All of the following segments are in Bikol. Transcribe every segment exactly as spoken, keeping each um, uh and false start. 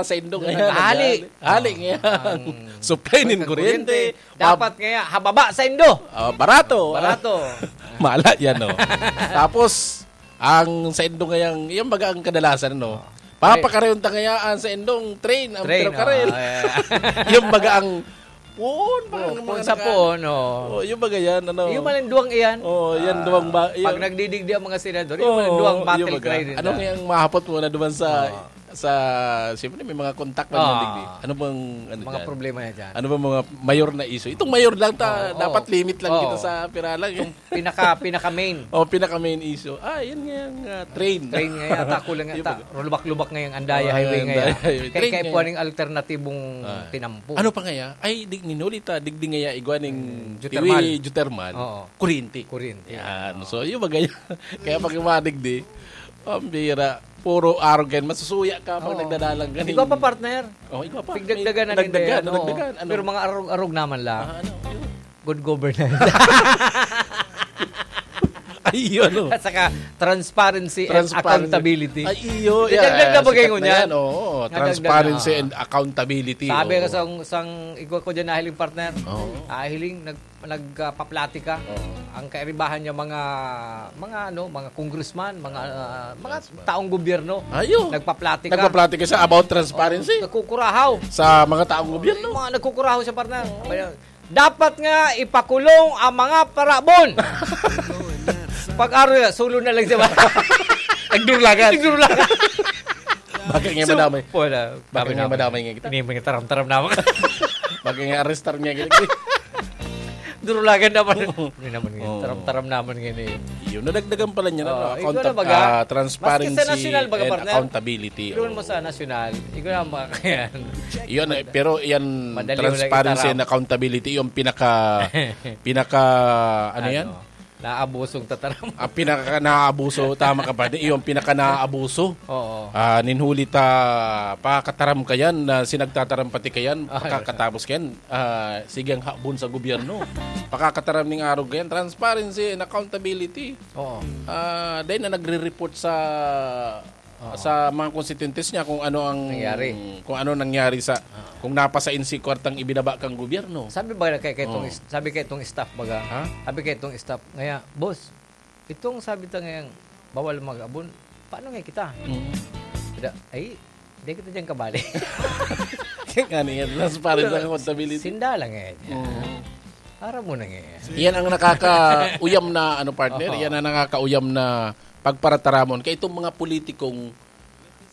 Sa indo ngayon, hali. Hali ngayon. Ang supply nin kuryente. Dapat ngayon, hababa sa indo. Ah, barato. Barato. Mala yan, no? Tapos, ang sa indo ngayon, yung baga ang kadalasan, no? Papakarayon ta ngayon ang sa indong train, ang train, pero karel. Yung baga ang puon, parang puon sa puon, oh. Oh, yung baga yan, ano? Yung malang duwang iyan. Oh, yan duwang ba? Pag nagdidigdi ang mga senador, yung malang duwang battle cry din. Ano nga yung mahapot mo na duman sa sa, siyempre may mga kontak man yan, digdi. Ano bang, ano mga problema niya dyan? Ano bang mga mayor na issue? Itong mayor lang ta, dapat limit lang kita sa pira lang. Itong pinaka, pinaka main. Oh, pinaka main issue. Ah, yun nga yung ah, train. Train nga yata, kulang yata. Rulbak-lubak nga yung Andaya Highway nga yan. Kaya kaya po yung alternatibong tinampo. Ano pa nga ya? Ay, dig, ninuli ta, digdi nga ya, igwa ning Geothermal. Tiwi, geothermal. Oo. Kuryente. Kuryente. Yan. So, yung bagay. Kaya pag yung mga digdi, pambira. Puro arrogant, masusuya ka pag nagdadalang ganing. Ikaw pa, partner. Oh, ikaw pa. Pigdagdagan na May din dagdagan, yan, oo. Dagdagan. Ano? Pero mga arog-arog naman lang. Ah, ano? Good governance. Ay, yun, oh. At saka, transparency and Transparent. Accountability. Ay, iyo. Dagdag na bagay ngunyan. Oo, transparency and accountability. Sabi ka sang, sang igwa ko dyan nahiling partner. Oo. Ah, hiling, nag, nagpaplatika. Oo. Ang kairibahan niya mga, mga ano, mga congressman, mga, ah, mga taong gobyerno. Ayo. Nagpaplatika. Nagpaplatika siya about transparency. Oo, nagkukurahaw. Sa mga taong gobyerno. Mga nagkukurahaw siya, partner. Dapat nga ipakulong ang mga parabon. Pag-aro na, sulo na lang siya. Nagdurlagan. Nagdurlagan. Bakit nga So, madamay? Wala. Bakit nga madamay nga kita? Ini mga taram-taram naman. Bakit nga arrestar nga kita? Durulagan naman. Hindi naman nga. Oo. Taram-taram naman nga ini. Yun, nadagdagan pala niya na, Oo, no? Account-, ikaw na baga. Ah, transparency Maski sa nasyonal baga, and partner. Accountability. Doon Oo. mo sa nasyonal, ikaw na ang makakayan. Yun, eh, pero yan, Madali mo lang transparency itarap. and accountability, yung pinaka, pinaka, ano yan? Ano? Naabusong tataram. Ang pinaka naabuso, tama ka ba? Yung pinaka naabuso. Oo. Ah, ninhuli ta, pakataram ka yan, na sinagtataram pati ka yan, Ay. pakakatapos ka yan, ah, sige ang habon sa gobyerno. Pakakataram ning arog ka yan, transparency and accountability. Oo. Ah, dahil na nagre-report sa Oo. sa mga constituents niya kung ano ang Nangyari. kung ano nangyari sa Oo. kung napasa in si kwartang ibinaba kang gobyerno. Sabi ba na kay, kay itong Oo. is-, sabi kay itong staff baga? Ha? Sabi kay itong staff, ngaya, "Boss, itong sabi ta ngayang bawal mag-abon, paano nga kita?" Mm. Sila, "Ay, di kita dyan kabali." Kaya nga niya, transparent ang accountability. Sinda lang eh. Oo. Para mo na nga eh. Yan ang nakakauyam na, ano, partner, Oo. yan ang nakakauyam na pagparataramon. Kaya itong mga politikong,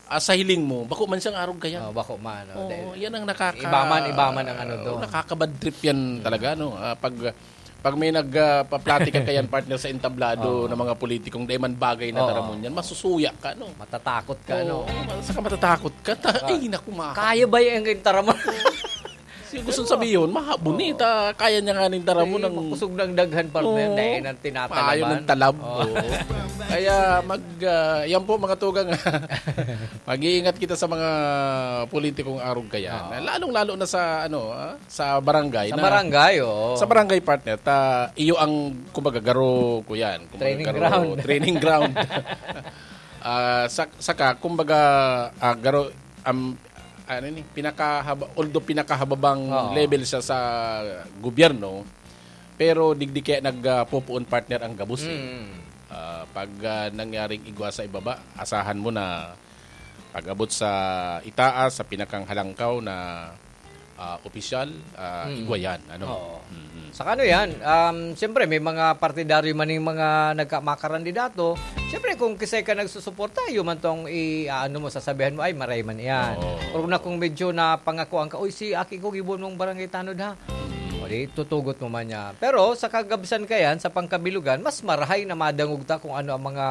ah, sa hiling mo, bako man siyang arog kaya. Oh, bako man, oh, Oo, dahil yan ang nakaka- iba man, iba man ang ano Oo, doon. nakakabad trip yan talaga, no? Ah, pag, pag may nag, ah, paplatika kayan, partner, sa entablado Oo. ng mga politikong dahil man bagay na Oo. taramon yan, masusuya ka, no? Matatakot ka, Oo, no? saka matatakot ka. Ta- Oo. Ay, naku, ma- Kaya ba yung taramon? Siya gusto sabihin, mahabon eh. Ta, kaya niya nga ning tara mo Ay, ng makusog ng daghan, partner. Oo. Dahil nang tinatalaman. Maayon ng talab. Oo. Oo. Kaya mag, ah, yan po, mga tugang. Mag-iingat kita sa mga politikong arog kaya. Oo. Lalong-lalo na sa, ano, ah, sa barangay Sa na barangay, oo. Sa barangay, partner, ta, iyo ang, kumbaga, garo ko yan. Kumbaga, Training garo, ground. training ground. Ah, sa, saka, kumbaga, ah, garo, um, ano ni, pinakahaba, although pinakahababang Oo. level siya sa gobyerno, pero digdi kaya nagpupuon, partner, ang gabos eh. Mm. Ah, pag, ah, nangyaring igwa sa ibaba, asahan mo na pag-abot sa itaas, sa pinakang halangkaw na, ah, opisyal, ah, Mm. igwa yan, ano? Oo. Mm-mm. Saka ano yan, um, siyempre may mga partidaryo man yung mga nagka-, mga karandidato. Siyempre kung kisay ka nagsusuporta, yun man tong i-, ano mo, sasabihan mo, "Ay, maray man yan." Oo. Pero na kung medyo napangakuan ka, "Uy, si aki ko, gibo mong barangay tanod, ha?" O di, tutugot mo man niya. Pero sa kagabsan ka yan, sa pangkabilugan, mas marahay na madangog ta kung ano ang mga,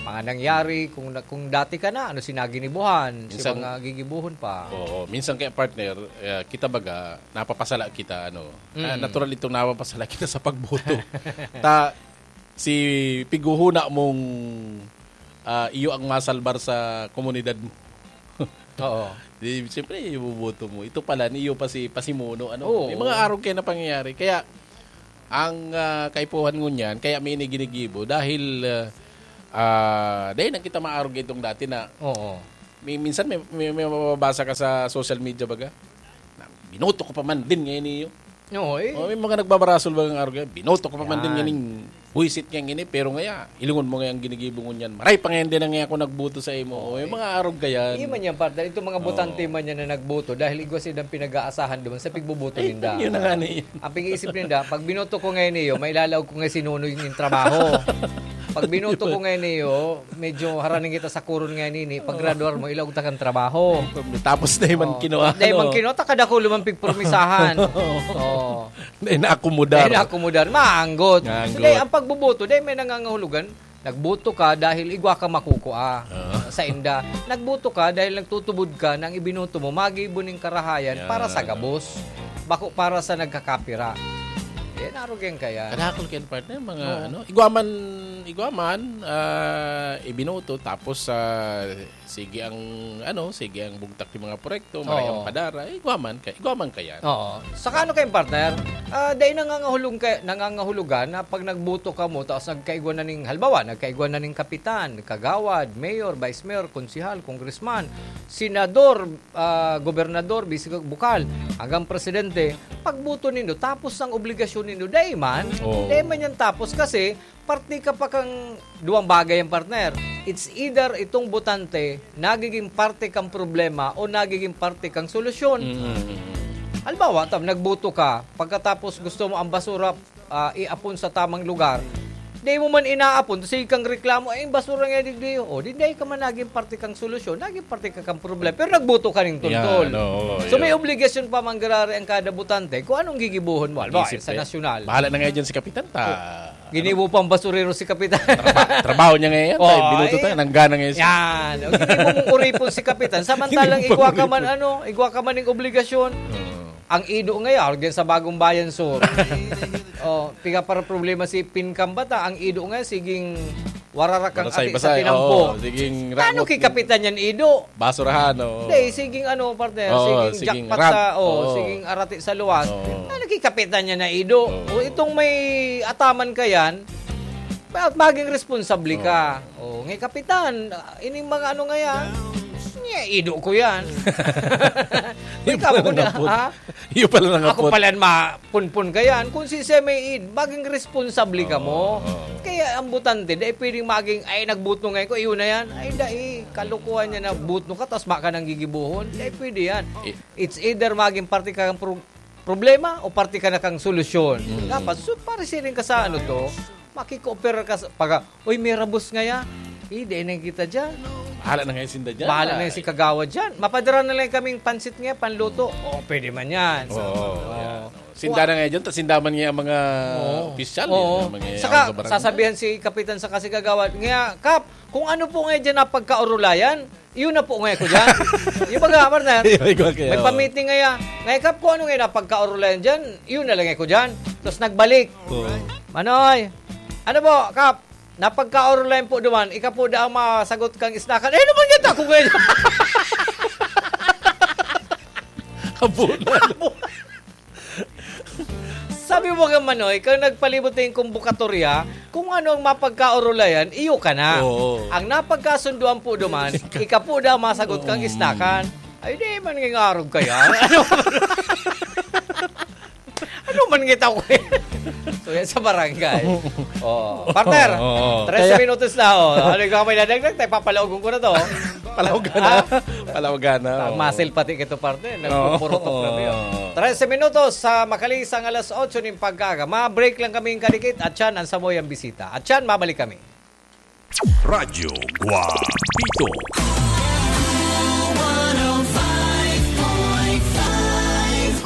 mga nangyari, kung na, kung dati ka na, ano si naginibuhan, si Minsan mga gigibuhon pa. Oo, minsan kaya, partner, eh, kita baga, napapasala kita, ano. Ah, Mm. natural itong napapasala kita sa pagboto. Ta, si pighuhuna mong, ah, iyo ang masalbar sa komunidad mo. Oo. Di, siyempre, iboboto mo. Ito pala, niyo pa si pasimuno, ano? Oo. May mga arog kayo na pangyayari. Kaya, ang, ah, kaipuhan ngunyan, kaya may ginigibo dahil, ah, ah, dahil na kita maarog itong dati na Oo. May, minsan may, may, may mababasa ka sa social media, baga. Na, "Binoto ko pa man din ngayon iyo." Oo, eh. Oh, may mga nagbabarasol, bagang arog, "Binoto ko pa man din Yan. Nganing buwisit ngayang ini, pero ngaya, ilingon mo ngayang ginigibo ngunyan. Maray pa ngayon din ang ngaya ako nagboto sa imo." Oo, Oh, may eh. Mga arog ka yan. Iyo man yan, partner. Itong mga botante Oo. Man yan na nagboto dahil igwa silang pinag-aasahan duman sa pigboboto Ay, ninda. Yun na nga na yun. Ang pag-iisip ninda, "Pag binoto ko ngayon iyo, mailalaog ko ngayon si Nonoy yung trabaho. Pag binoto ko ngayon iyo, medyo haraning kita sa kuron ngayon ini, pag graduar mo, ilaog ta kang trabaho." Tapos na yung man Oh, kinuha, dahil ano? Man kinuha, takada ko lumang pigpromisahan. Oh. Dahil naakomodar. Dahil naakomodar, maanggot. Maanggot. Dahil ang pagboboto, dahil may nangangahulugan, nagboto ka dahil igwa ka makukua Ah. sa inda. Nagboto ka dahil nagtutubod ka na ang ibinoto mo, magibo ning karahayan para sa Yan. Gabos. Bako para sa nagkakapira. Yan, arog yan kaya. Kadakol kayo, partner, mga Oo. ano, igwa man, igwa man, ah, ibinoto, tapos, ah, sige ang, ano, sige ang bugtak yung mga proyekto, maray Oo. Ang padara, igwa man ka-, igwa man kayan. Oo. Saka ano kayo, partner? Ah, dahil nangangahulog ka, nangangahulugan na pag nagboto ka mo, tapos nagkaigwa na ning, halimbawa, nagkaigwa na ning kapitan, kagawad, mayor, vice mayor, konsihal, congressman, senador, ah, gobernador, bisi bukal, hanggang presidente, pagboto nindo, tapos ang obligasyon nindo, dahil man, Oo. Dahil man yan tapos kasi, parte ka pa kang duwang bagay ang partner. It's either itong botante, nagiging parte kang problema o nagiging parte kang solusyon. Mm. Halimbawa, tam, nagboto ka, pagkatapos gusto mo ang basura, ah, iapon sa tamang lugar, di mo man inaapon, tapos sige kang reklamo, "Eh, yung basura nga digdi." O, di, di ka man naging parte kang solusyon, naging parte ka kang problema. Pero nagboto ka ning tuntol. Yan, oo, So, may yun. Obligasyon pa mangyayari ang kada botante kung anong gigibuhon mo. Halimbawa, Isip sa eh. Nasyonal. Bahala na nga dyan si Kapitan, ta. Oh, ginibo pang basurero si Kapitan. Traba-, trabaho niya ngayon, Oh, tayo, binuto eh. Tayo, nanggana ngayon siya. Yan. O, ginibo mong kuripon si Kapitan. Samantalang Ginibo pang igwa ka man, kuripon. Ano, igwa ka man yung obligasyon. Oo. Ang ido ngayon, arog yan sa Bagong Bayan Sur. Oh, piga para problema si Pin Kambata, ang ido ngayon, siging wararak ang ati sa Basay-basay, tinampo. Oo, siging Ano rangot ki ng Kapitan yan, ido? Basurahan, oo. Hindi, siging ano, partner, Oo, siging siging jackpot rat. Sa, oh, Oo. Siging arati sa luwas. Oo. Ano ki Kapitan yan na ido? Oo. O itong may ataman ka yan, ma-, maging responsable ka. Oo. Oh, ngay Kapitan, ah, ining mga ano nga yan, nga, ido ko yan. Yung Ikaw pala muna, nangapot. Ha? Yung pala nangapot. Ako pala ma-, punpun ka yan. Kung si Seme Id, maging responsable ka mo. Oo, oo. Kaya ang botante, dai pwedeng maging, "Ay, nagboto ngayon ko, iyon na yan." Ay, dai, kalokohan niya na boto ka, tas baka nang gigibohon. Dai pwede yan. Eh. It's either maging parte ka ng pro-, problema o parte ka na kang solusyon. Mm. Dapat, so, pare siring ka sa ano to, makikooperar ka sa, pag, "Uy, may rabos ngaya." Eh, dai na kita dyan. Bahala na ngayon sinda dyan. Bahala na yung si Kagawad dyan. Mapadara na lang kaming pansit nga, panluto. Oo, pwede man yan. Oo, Oo. Yan. Sinda na ngayon dyan, tas sinda man nga ang mga Oo. Opisyal, Oo. Yan, ang mga Saka, ang sa barangay. Sasabihan si Kapitan sa kasi Kagawad, nga, "Kap, kung ano po ngayon dyan na pagkaurulayan, yun na po ngayon ko dyan." Yung baga, partner, Yung baga, kaya, may oo. Pamiting ngayon. Ngayon, Kap, kung ano ngayon na pagkaurulayan dyan, yun na lang ngayon ko dyan. Tapos nagbalik. Oo. Manoy, ano po, Kap? Napagkaorulayan po duman, ika po daw masagot kang isnakan. Eh, naman nga ako ngayon. Abo na. Sabi mo ka, Manoy, kung nagpalibot na yung kumbukatorya, kung ano ang mapagkaorulayan, iyo ka na. Oo. Ang napagkasunduan po duman, ika po daw masagot kang Mm. Isnakan. Ay, di man nga ngarog kaya. Ano man kita ko eh? So, yan sa barangay. Oh, partner, Oo. Trese Kaya minutos na, oh. Ano yung may nadagdag? Tayo, papalaogon ko na to. Palaogan na. Ah. Palaogan na, Ang oo. Muscle pati kito, partner. Oo. Nagpupurutok na yun. Trese minutos sa makalisang alas otso ning pagkaaga. Ma-break lang kaming kadikit at yan ang Samoyang Bisita. At yan, mabalik kami. Radyo Guapito.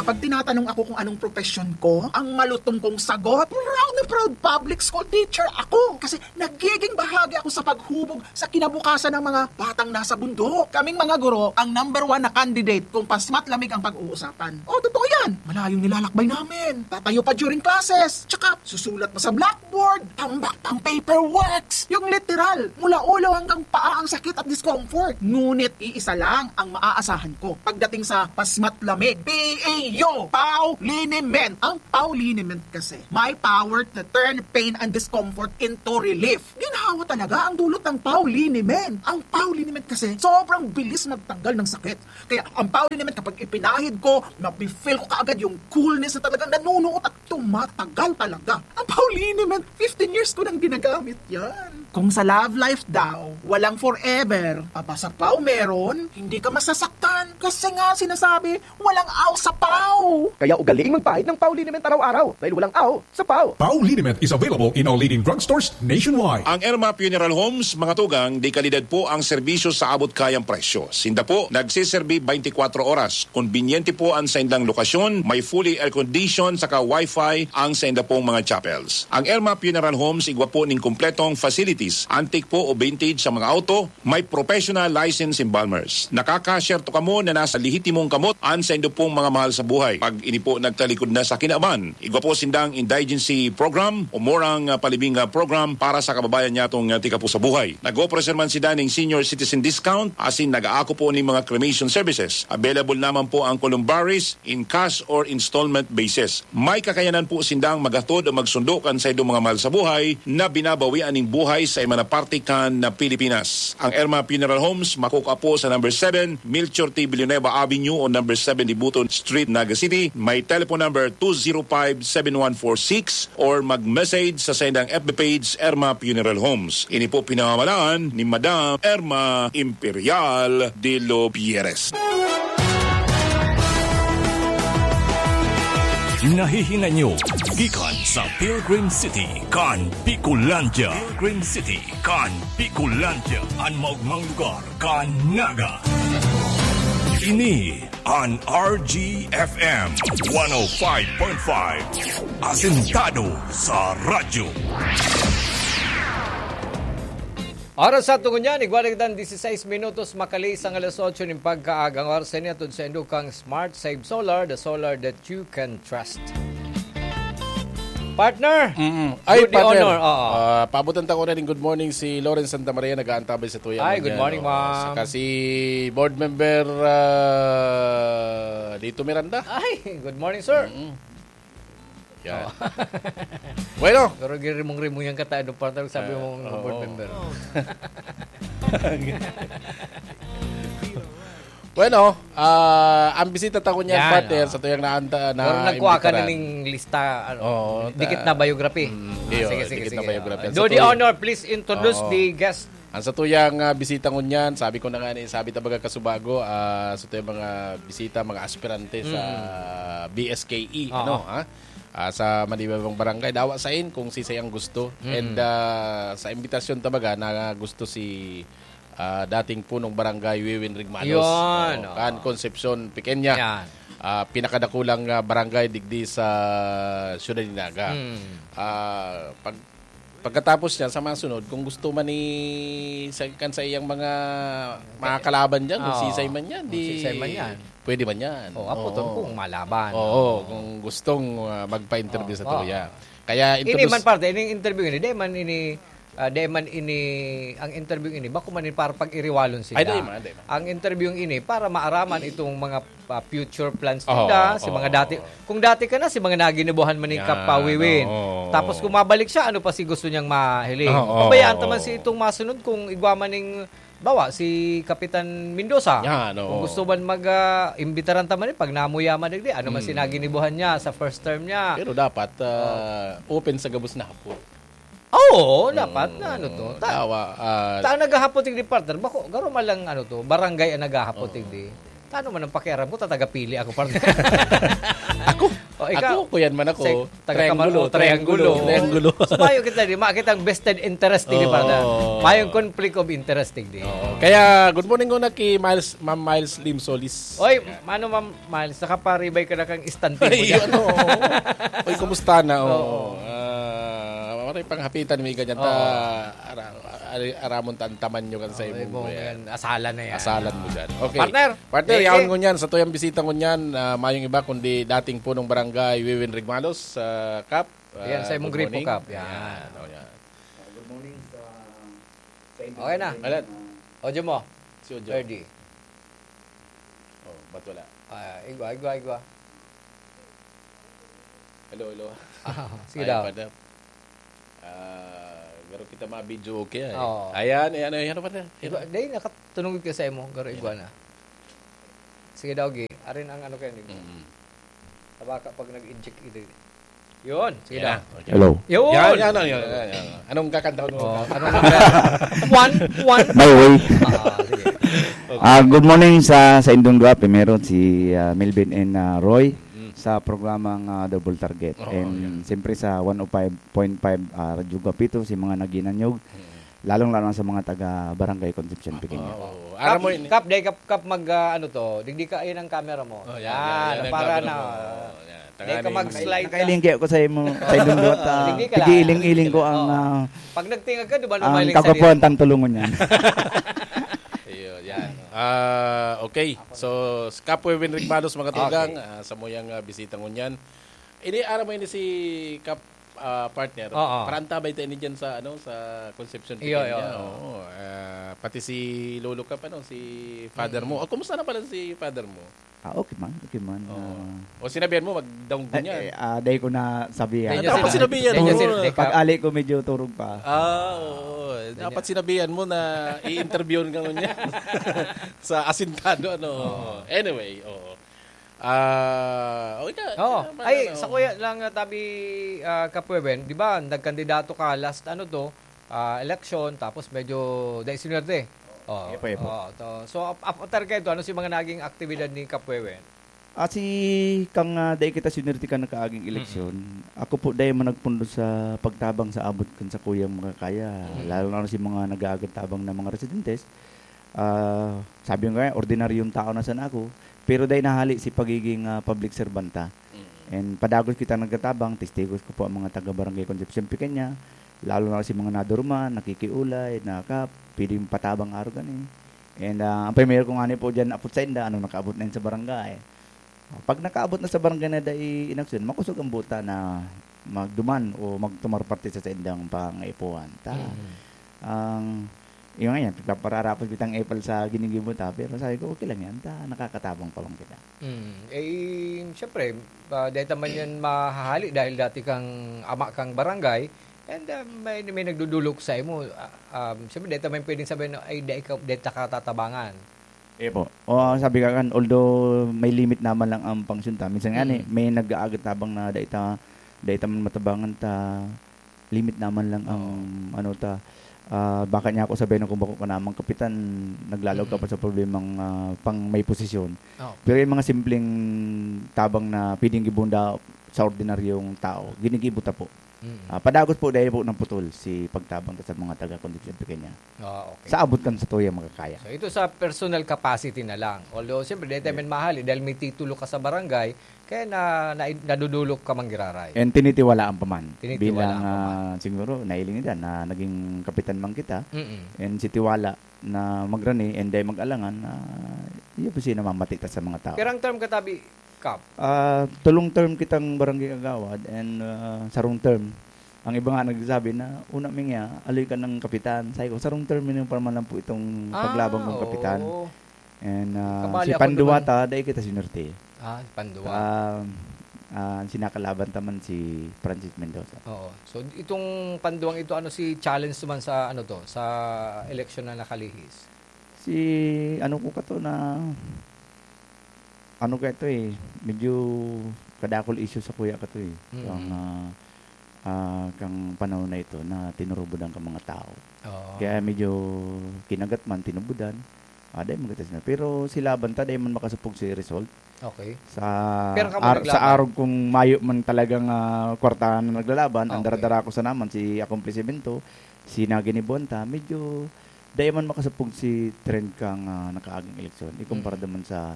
Kapag tinatanong ako kung anong profesyon ko, ang malutong kong sagot, proud na proud public school teacher ako. Kasi nagiging bahagi ako sa paghubog sa kinabukasan ng mga batang nasa bundok. Kaming mga guro, ang number one na candidate kung pasmat lamig ang pag-uusapan. Oh, totoo yan. Malayong nilalakbay namin. Tatayo pa during classes. Tsaka, susulat pa sa blackboard. Tambak pang paperworks. Yung literal, mula ulo hanggang paa ang sakit at discomfort. Ngunit iisa lang ang maaasahan ko pagdating sa pasmat lamig. P A U! Yo! Pau Liniment! Ang Pau Liniment kasi, may power to turn pain and discomfort into relief. Ginhawa talaga ang dulot ng Pau Liniment. Ang Pau Liniment kasi, sobrang bilis magtanggal ng sakit. Kaya ang Pau Liniment, kapag ipinahid ko, mafe-feel ko kaagad yung coolness na talagang nanunuot at tumatagal talaga. Ang Pau Liniment, fifteen years ko nang ginagamit yan. Kung sa love life daw, walang forever, aba sa Pau meron, hindi ka masasaktan. Kasi nga sinasabi, walang aw sa Pau. Kaya ugaliing magpahid ng Pau Liniment araw-araw dahil walang aw sa Pau. Pau Liniment is available in all leading drugstores nationwide. Ang Erma Funeral Homes, mga tugang, de kalidad po ang serbisyo sa abot kayang presyo. Sinda po nagseserbi twenty-four oras. Konbinyente po ang saindang lokasyon, may fully air-conditioned saka wifi ang sainda pong mga chapels. Ang Erma Funeral Homes igwa po ning kompletong facilities, antique po o vintage sa mga auto, may professional license embalmers. Nakakasyerto kamo na nasa lehitimong kamot an saindo pong mga mahal sa buhay. Pag ini po nagtalikod na sa kinaban, igwa po sindang indigency program o murang, ah, palibing, ah, program para sa kababayan nyatong, ah, tika po sa buhay. Nag-operasyon man sinda ning senior citizen discount, asin nag-aako po ning mga cremation services. Available naman po ang columbaries in cash or installment basis. May kakayanan po sindang maghatod o magsundo kan saindong mga mahal sa buhay na binabawian ning buhay sa iba na parte kan na Pilipinas. Ang Erma Funeral Homes makukuha po sa number seven, Melchor T. Villanueva Avenue o number seven Dibuton Street, Naga City. May telephone number two zero five seven one four six or mag-message sa saindang F B page, Erma Funeral Homes. Ini po pinamamalaan ni Madam Erma Imperial de los Pierres. Nahihinay nyo gikan sa Pilgrim City kan Bicolandia. Pilgrim City kan Bicolandia, an maogmang lugar kan Naga. Ini an R G F M one oh five point five, asentado sa radyo. Oras sa tungon niyan, igwa na kitang dieciséis minutos, makaliis ang alas otso nin pagkaaga. Ang oras na ini hatod saindo kan Smart Save Solar, the solar that you can trust. Partner, Mm-mm. Ay, do the partner. Honor. Oo. Ah, paabutan ta ko na ning good morning si Lawrence Santa Maria, nag-aantabay sa tuya Ay, good ngunyan, morning, oo. ma'am. Saka si board member, ah, Lito Miranda. Ay, good morning, sir. Mm-mm. Yan. Oo. Bueno. Pero girimong-rimong yan katayo, partner, sabi Ah, mong oo. board member. Bueno, ah, ang bisita ta ngunyan, Yan, partner, oo. sa tuyang naanta-, Pero nagkuha ka na naimbitaran. ning lista, ano, Oo, dikit ta-, na biography. Mm, Ah, iyo, sige, sige, dikit na sige. biography. Ang Do sa the tuya-, honor, please introduce Oo. the guest. Ang sa tuyang, ah, bisita ngunyan, sabi ko na nga ni, sabi ta baga kasubago, ah, sa tuyang mga bisita, mga aspirante sa Mm. B S K E, Oo. ano, ha? Ah, sa manibabang barangay, dawa sain kung sisay ang gusto. Mm. And, ah, sa imbitasyon ta baga na gusto si ah, dating punong barangay Wiwin Rigmalos. Yun, Oo, oo. kan Concepcion Pequeña. Yan. Ah, pinakadakulang, ah, barangay digdi sa siyudad ni Naga. Mm. Ah, pag-, pagkatapos niyan, sa mga sunod, kung gusto man ni, sa, kan sa iyang mga, mga kalaban dyan, kung Oo. sisay man yan, Kung di, sisay man yan. pwede man yan. Oo, apo, Oo. tol, kung malaban. Oo, Oo. kung gustong, ah, magpa-interview Oo, sa oo. tuya. Kaya Ini introduce man parte, ining interview ini, di man ini, ah, di man ini, ang interview ini, bako man ini para pag-iriwalon sinda. Ay, di man, di man. Ang interview ini para maaraman itong mga, ah, future plans Oo, nila, si oo, mga dati, oo. kung dati ka na, si mga naginibuhan man ni Yan, Kap Wiwin. oo. Tapos kung mabalik siya, ano pa si gusto niyang mahiling? Oo, oo, Pabayaan ta man oo. si itong masunod kung igwa man ning, bawa, si Kapitan Mendoza. Yan, Kung oo. gusto man mag, ah, imbitaran ta man, eh, pag namuya man, digdi, ano man si Hmm. naginibuhan niya sa first term niya? Pero dapat, ah, Oo. open sa gabos na hapon. Oo, dapat na ano to. Mm, Ta-, dawa, ah, ta-, naghahapon digdi, partner. Bako, garo man lang ano to, barangay ang naghahapon Oo. digdi. Tano man ang pakiaram ko, tatagapili ako, partner. Ako? O, ikaw? Ako, kuyan man ako. Sa taga Triangulo, Kamar-, o, triangulo. Triangulo. Triangulo. So, mayo kita di, makita ang vested interest, di, Oo. partner. Mayong conflict of interest, di. Oo. Kaya, good morning ko na kay Miles, Ma'am Miles Lim Solis. Oy, mano, Ma'am Miles, nakaparibay ka na kang istante mo Ay, dyan. ano, oo. Oy, kumusta na? Oo. Oo. Ah, maray panghapitan, may ganyan ta, Oo. ara-, ari-, aramon ta ang taman nyo kan sa Ay, imong bong kuya. yan. Asalan na yan. Asalan mo dyan. Okay. Partner! Partner, Eh, yaon eh. ngunyan, sa tuyang bisita ngunyan, ah, mayong iba kundi dating punong barangay, Wiwin Rigmalos, ah, Kap. Ayan, Ah, sa imong good gripo, morning. Kap. Yan. Ayan, oh, yan. Good morning sa, sa inyo. Okay na. Alan. Audio mo. Si Ojo. Ferdy. Oh, ba't wala? Ah, igwa, igwa, igwa. Hello, hello. Ah, sige Ayan, daw. Father. Ah, garo kita ma-video okay, eh. Oo. Ayan, eh, ano, ano, Father? Igwa, dahil nakatunong ka sa imo, garo igwa na. Sige daw, Gi. Arin ang ano kayo, Nick. Mm. Tabaka pag nag-inject ito. Yun, sige Yan daw. na. Okay. Hello. Yun! Yan, yan, yan, yan, yan. Anong kakanta mo? Oh, ano na? One, one. My way. Ah, sige. Ah, good morning sa sa indong dua. Primero si ah, Melvin and ah, Roy sa programang ah, Double Target. Oo, And siyempre sa one oh five point five ah, Radyo Guapito, si mga naginanyog, lalong-lalo na sa mga taga Barangay Concepcion Pequeña. Oo. Aram mo ini. Kap, day kap, kap mag, ah, ano to, digdi ka, ayun ang camera mo. Oh, yan, Yan, yan, yan, para yan, na. oh, yan. Day ka Tanganing- mag-slide ka. Nakailingki ako sa imo, sa indong dua. Ta, Hindi ka lang. Nag-iiling-iling ko ang Oo. ah, Pag nagtingag ka, di ba, ang may kagwapuhan tang tulungon yan. Iyo, yan. Ah, okay. So, Kap Wewin Rigmalos, mga tugang, ah, sa muyang ah, bisita ngunyan. Ini, aram mo ini si Kap ah, partner. Oo. Parang tabay tayo ni dyan sa, ano, sa Concepcion Iyo, Pequeña. iyo. Oo. Ah, pati si Lolo Kap, ano, si father mo. Oh, kumusta na pala si father mo? Ah, okay man, okay man. Oo. Ah, O sinabihan mo, magdaong eh, niya. eh, ah, dahil ko na sabihan. Dahil Dapat niya sinabihan dahil mo. niya sir, dahil ka- Pag-ali ko medyo turog pa. Ah, oo. Dapat sinabihan mo na i-interviewin ka ngunyan sa asintado, ano. Anyway, oo. Ah, okay ka. Oh, Ano, ay, ano, sa kuya lang, ah, tabi, ah, Kap Wewin, di ba, nagkandidato ka last, ano to, ah, election, tapos medyo dahil sinwerte. Oh, Epo, epo. Oh, to. So, ap- after kayo to, ano si mga naging aktibidad ni Kap Wewin? Ah, si kang ah, dai kita sinwerte kan nakaaging eleksyon, ako po dai man nagpundo sa pagtabang sa abot kan sakuyang makakaya. Lalo na si mga nag-aagad tabang na mga residentes. Ah, sabi ko nga, ordinaryong tao na sana ako, pero dai nahali si pagiging ah, public servanta. And padagos kita nagtatabang, testigos ko po ang mga taga Barangay Concepcion Pequeña, lalo na si mga nadurman, nakikiulay, naka, pwedeng patabang araw gani. And ah, ang primero ko nga ni po dyan, apot sa inda, ano nakaabot na yun sa barangay. Pag nakaabot na sa barangay na dai inaksyon, makosog ang buta na magduman o magtumar parte sa saindang pangaipuhan. Ta, ang, yung nga yan, pagpapararapos bitang epal sa ginigibo ta, pero sabi ko, okay lang yan, ta, nakakatabang pa lang kita. Mm. Eh, siyempre, uh, dahil naman yan mahahali dahil dati kang ama kang barangay, and uh, may, may nagdudulok sa imo. Uh, um, siyempre, dahil naman pwedeng sabihin, ay, dahil ka, dahil ka tatabangan. Eh po. O, sabi ka kan, although may limit naman lang ang pangsyon ta, minsan nga ni, may nag-aagat tabang na dai ta, dai ta man matabangan ta, limit naman lang ang ano ta. Ah, baka niya ako sabihin kung bako ka namang kapitan, naglalog ka pa sa problemang ah, pang may posisyon. Oh. Pero yung mga simpleng tabang na pwedeng gibunda sa ordinaryong tao, ginigibo ta po. Mm. Ah, padagos po dahil po ng putol si pagtabang ta sa mga taga-condition kanya. Ah, okay. Sa abot kan sa tuyang makakaya. So, ito sa personal capacity na lang. Although, siyempre, dahil tayo man mahali, dahil may titulo ka sa barangay, kaya na, na, nadudulok ka manggiraray. And tinitiwalaan pa man. Tinitiwalaan Bilang, pa man. ah, siguro, nailing nila na naging kapitan man kita. Mm-mm. And si Tiwala na magrani and dahil mag-alangan, na yun po siya namamati ta sa mga tao. Pero ang term katabi, Kap, Ah, tulong term kitang barangay kagawad and ah, sarong term. Ang iba nga nagsasabi na, una mi nga, aloy ka ng kapitan. Sabi ko, sarong term yun yung parang lang po itong Ah, paglabang kong kapitan. Oo. And ah, Kabali si ako Panduwa naman. ta, dahil kita sinerte. Ah, panduwa. Ah, ah, sinakalaban ta man si Francis Mendoza. Oo. So, itong panduwang ito, ano si challenge naman sa, ano to, sa eleksyon na nakalihis? Si, ano ko ka to na, ano ka ito eh, medyo kadakol issue sa kuya ka to eh. Mm. Kang, ah, ah, kang panahon na ito na tinurubudan ka mga tao. Oo. Kaya medyo kinagat man, tinubudan. Ah, dahil maganda sila. Pero si Laban ta, dahil man makasupog si result. Okay. Sa, Pero kamo ar- naglaban? sa arog kung mayo man talagang ah, kwartahan na naglalaban, ang Okay. daradara ko sa naman, si akomplisimiento, si naginibuan ta, medyo dahil man makasupog si trend kang ah, nakaaging eleksyon. Ikumpara Mm. naman sa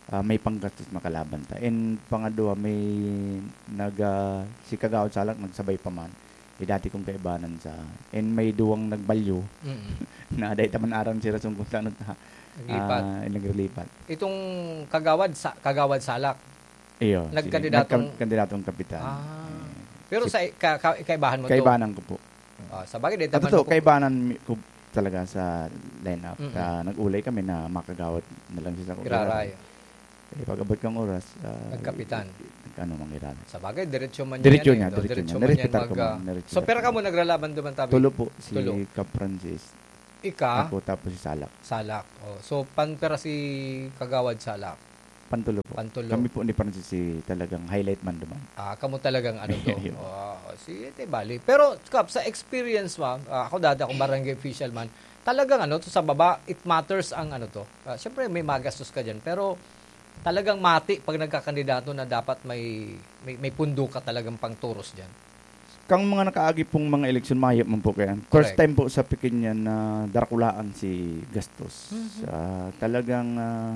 ah, may panggastos makalaban ta. And pangadwa, may nag, ah, si Kagawad Salak nagsabay pa man. Eh, dati kong kaibanan sa, and may duwang nagbalyo Mm. na dahil taman aram si Rason kung saan ta, Naglipat. ah, naglilipat. Itong kagawad sa kagawad salak. Iyo, Nagkandidatong nagka- kandidatong kapitan. Ah. Eh, Pero si- sa ka, ka, kaibahan mo to. Kaibanan ko po. Ah, sa bagay, dahil At naman totoo, ako- kaibanan mi- ko talaga sa lineup. Mm-mm. Ah, nag-ulay kami na makagawad na lang siya sa Iraray. Eh, pag abot kang oras, ah, Nagkapitan. ano, mangiral. Sa bagay, diretso man Diretso yan niya, eh. No, diretso diretso niya. man yan Nirespetar ko, mag, ah, ma'am. Nirespetar So, pero ko. Kamo nagralaban duman tabi? Tulo po, si Tulo. Cap Francis. Ika? Ako, tapos si Salak. Salak. Oh. So, panpera si Kagawad Salak? Pantulo po. Pantulo. Kami po ni Francis si talagang highlight man duman. Ah, kamo talagang ano to. Yun. Oh, si Ate Bali. Pero, Kap, sa experience mo, ah, ako dati akong barangay official man, talagang ano to, sa baba, it matters ang ano to. Ah, Siyempre, may magastos ka dyan. Pero, talagang mati pag nagkakandidato na dapat may, may, may pundo ka talagang pangturos dyan. Kang mga nakaagi pong mga eleksyon, mayo man po kaya. First Correct. time po sa Pequeña na darakulaan si gastos. Mhm. Ah, talagang ah,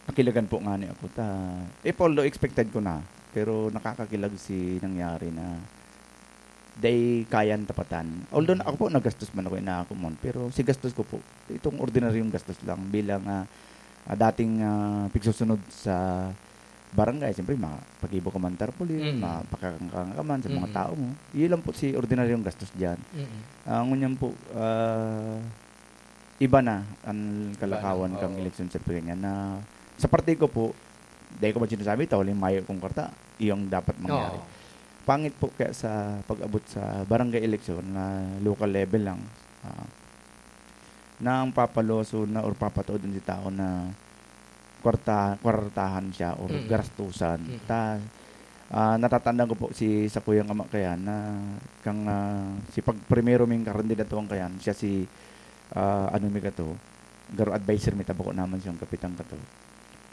nakilagan po nga ni ako. Ta, eh, although expected ko na, pero nakakakilag si nangyari na day kayang tapatan. Although Mhm. ako po, nagastos man ako, ina ako mon, pero si gastos ko po, itong ordinaryong gastos lang bilang ah, ah, dating ah, pigsusunod sa barangay, siyempre, mga pag-ibo ka man tarpaulin, Mm. mapakakangkang ka man sa mga Mm. tao mo. Yun lang po si ordinaryong gastos dyan. Mm-mm. Ah, ngunyan po, ah, iba na ang Iba na, kalakawan kang oo. eleksyon sa Pequeña na sa parte ko po, dahil ko man sinasabi, ito, huling mayo kong kwarta, yung dapat mangyari. Oo. Pangit po kaya sa pag-abot sa barangay election na local level lang, ah, na ang papaloso na or papatuod sa tao na kwarta, kwartahan siya or Mm. garastusan. Mm. Ta, ah, natatandaan ko po si sa kuyang ama kaya na kang ah, si pag primero ming karandidatuan kaya siya si ah, ano mi kato, garo adviser mi tabako naman siyang kapitan kato.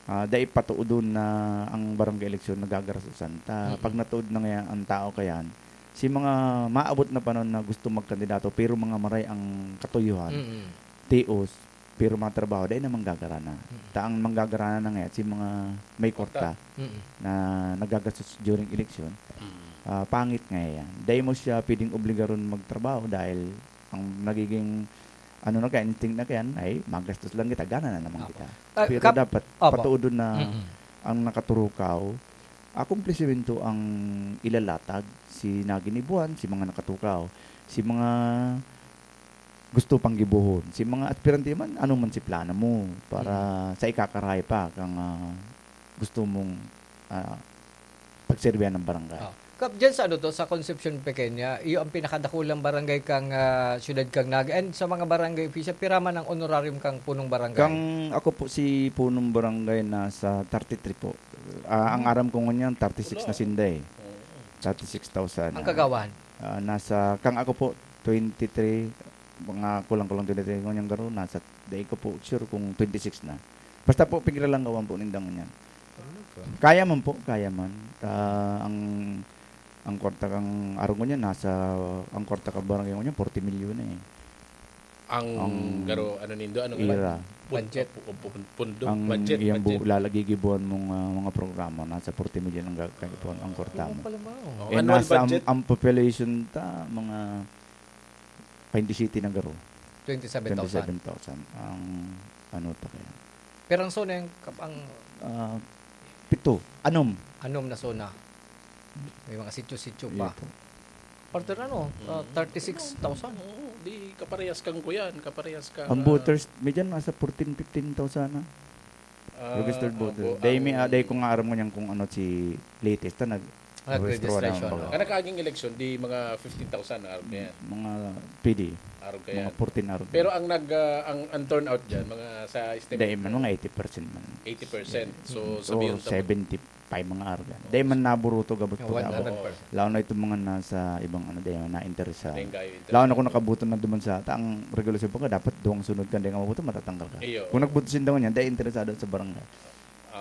Ah, dai patuodon na ang barangay eleksyon nagagarastusan. Ta Mm. pag natuod na nga ang tao kayan, si mga maabot na panon na gusto magkandidato pero mga maray ang katuyuhan, Mm-mm. tios, pero mga trabaho, dai na manggagarana. Ta ang manggagarana na nga si mga may kwarta Mm-mm. na nagagastos during election. Mm. Ah, pangit nga yan. Dai mo siya pwedeng obligaron magtrabaho dahil ang nagiging ano na kaya, instinct na kaya, ay, magastos lang kita, gana na naman Apo. kita. Ah, Pero kap- dapat Apo. patuodon na Mm-mm. ang nakaturukaw, akumplisimento ang ilalatag, si naginibuan, si mga nakatukaw, si mga gusto pang gibohon, si mga aspirante man, ano man si plano mo para sa ikakarahay pa kang ah, gusto mong ah, pagserbihan ng barangay. Ah. Kap, dyan sa ano to, sa Concepcion Pequeña, iyo ang pinakadakulang barangay kang ah, siyudad kang Naga. And sa mga barangay official, pira man ang honorarium kang punong barangay? Kang ako po si punong barangay nasa thirty-three po. Ah, ang aram ko ngunyan, thirty-six na sinda eh. Oo. Thirty-six thousand. Ang kagawahan? Ah, nasa, kang ako po, twenty-three, mga kulang-kulang twenty-three ngunyan garo, nasa, dai ko po sure kung twenty-six na. Basta po, piglalanggawan po ninda ngunyan. Kaya man po, kaya man. Ah, ang ang kwarta kang arong ngunyan, nasa, ang kwarta kang barangay ngunyan, forty milyon na eh. Ang, Ang garo, ano nindo, anong Ira. Budget. Pu- pu- Pundo, Ang budget, iyang budget. bu- lalagigibuhan mong ah, mga programa, nasa forty million ang gagawin ang kwarta Oo mo. pala ba? Oh. Oh, Eh, annual nasa ang, budget? ang population ta, mga twenty-seven na garo. twenty-seven thousand. Twenty-seven thousand. Ang ano ta kaya? Pero ang zona yung kap- ang Ah, pito. Anom. anom na zona. May mga sityo-sityo pa. Yun po. Partner ano, ah, thirty-six thousand. Oo, di kaparehas kang kuyan, kaparehas kang Ang ah, voters, may dyan nasa fourteen, fifteen thousand na. ah, Registered ang voter. vo- Dahil may, ang- ah, dahil kung aram mo niyan kung ano si latest na nag Nag-registration, register na oh. Ang nakaaging eleksyon, di mga fifteen thousand na araw yan. Mga P D. Araw kaya. Mga fourteen araw. Pero ang nag ah, ang, ang turnout diyan, mga sa estimate Dahil man, mo, mga eighty percent man. eighty percent. So, Or sabihin sa seventy-five mga araw. Dahil man naburuto gabot Yeah, po ako. one hundred percent. Lalo na itong mga nasa ibang ano, dahil na-interest sa Dahil kayo interest. Lalo na kung nakabuto na duman sa ta, ang regulasyon po ka, dapat duwang sunod ka, hindi ka mabuto, matatanggal ka. Iyo. Kung nagbuto sinda niya, dahil interesado sa barangay.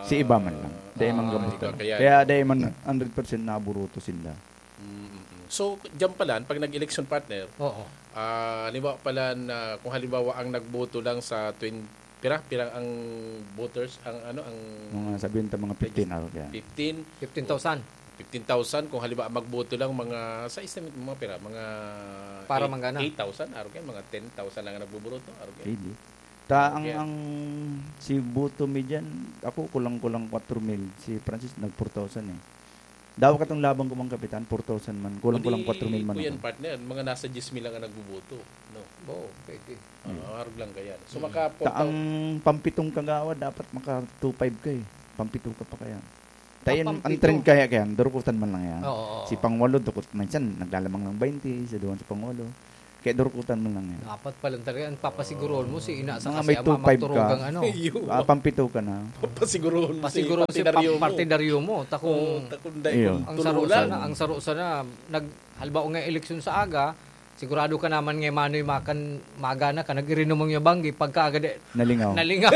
Si iba man lang. Dahil man Ah, gabuto. iba kaya Kaya yun. dahil man hundred percent naburuto sinda. Mm, mm, mm. So, diyan pala, pag nag-election partner, Oo. ah, halimbawa pala na, kung halimbawa ang nagboto lang sa twenty, pira, pira ang voters, ang ano, ang Mga sabihin ta mga fifteen araw yan. fifteen, fifteen thousand. fifteen thousand, kung halimbawa magboto lang mga, sa estimate mo, mga pira, mga Para eight- manggana. eight thousand, araw yan, mga ten thousand lang ang nagboboto, araw yan. Pwede. Ta ang, Okay. ang si boto mi dyan, ako kulang-kulang kwatro mil, si Francis nag four thousand eh. Daw katong labang ko, mga kapitan, four thousand man, kulang-kulang Kundi kwatro mil man po yan, ako. Partner, mga nasa diyes mil lang ang nagboboto, no? Oo, pwede. Ah, arog lang kaya. So, Mm. maka Ta ang pampitong kagawad, dapat maka two five ka eh. Pampito ka pa kaya. Tayo, ang trend kaya, kaya, durukutan man lang yan. Oo, oo. Si pangwalo, dukot, minsan naglalamang ng baynte, sa duwan sa pangwalo. Kaya durukutan man lang yan. Dapat pala talaga, ang papasiguroon mo, si ina sa mga kasi may ama, two five ka, magturugang ano. Iyo. Ah, pampito ka na. Papasiguroon mo si Pasiguroon si partidaryo pa-, mo. Partidaryo mo. Takong Oo, takong dai Iyo. Ang saro sana, ang saro sana, nag-, halimbawa nga eleksyon sa aga, sigurado ka naman nga manoy makan, magana ka, nag-irinom ang yabanggi, pagka agad eh, Nalingaw. Nalingaw.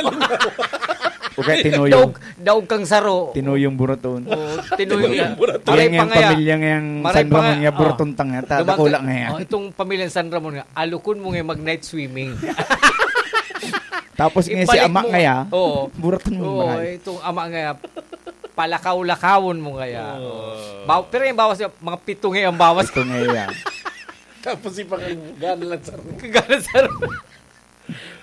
O kaya tinuyong. Daog, daog kang saro. Tinuyong buraton. Oo, tinuyong. Tinuyong buraton. Maray pa nga. Pamilya nga yung Maray San pa Ramon nga, nga, oh. Buraton tang nga. Ta-, Dumating, dakula nga yan. Oh, itong pamilyang San Ramon nga, alukon mo nga mag-night swimming. Tapos nga si Ibalik ama mo. Nga ya, Oo. Buraton mo Oo, maray. Itong ama nga ya, palakaw-lakawon mo nga ya. Oo. Oo. Baw-, pero yung bawas niya, mga pito nga yung bawas. Pito nga yan. Tapos ipakagana lang sa Gana sa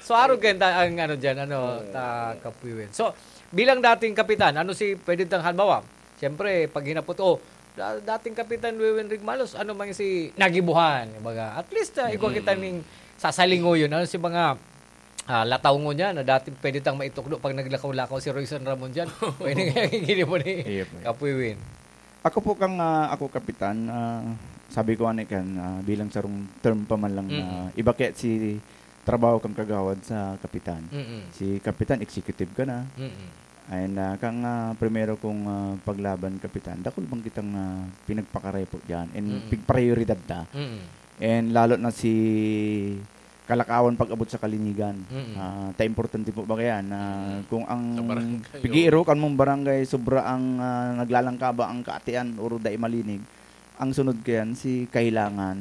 So, arog kayo ta-, ang ano dyan, ano, Oo. ta-, Kapuy Win. So, bilang dating kapitan, ano si, pwede tang halimbawa, siyempre, pag hinapot, oh, da-, dating kapitan Wewin Rigmalos, ano man si nagibuhan, baga, at least, ah, igwa Mm. kita ning sasalingoyon, ano si mga, ah, lataw mo niya na dating pwede tang maitukdo pag naglakaw-lakaw si Royson Ramon dyan? Pwede nga gini mo ni Iya po. Kapuy Win. Ako po kang, ah, ako kapitan, ah, sabi ko ani kan, ah, bilang sarong term pa man lang na Mm. iba kaya si trabaho kang kagawad sa kapitan. Mm. Si kapitan, executive ka na. Mm. Ayan na, kang, ah, primero kong, ah, paglaban, kapitan, dakul bang kitang, ah, pinagpakarepo diyan and Mm. pigprayoridad ta. Mm. And lalo na si kalakawan pag-abot sa kalinigan. Mm. Ah, ta importante po ba kaya na Mm. kung ang Sa barangay, pigiiro oo. kan mong barangay, sobra ang, ah, naglalangkaba ang kaatian, oro dai malinig, ang sunod kayan, si kahilangan,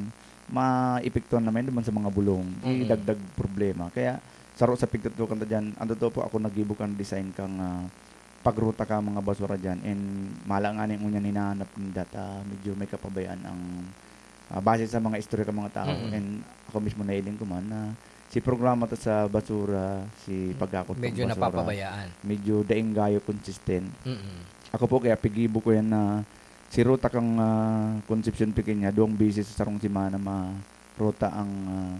maepektuhan naman naman sa mga bulong. Di Mm. dagdag problema. Kaya, saro sa pigtutukan ta dyan, ang totoo po, ako naggibo kan design kang, ah, pagruta ka mga basura dyan. And mala nga ning ngunyan hinahanap ninda ta, medyo may kapabayaan ang, ah, base sa mga istorya ka mga tao. Mm. And ako mismo nailing ko man na si programa ta sa basura, si Mm. pagkakot ng Medyo basura, napapabayaan. medyo daing gayo consistent. Mm. Ako po, kaya pigibo ko yan na si ruta kang, ah, Concepcion Pequeña, duwang beses sa sarong semana ma-, ruta ang, ah,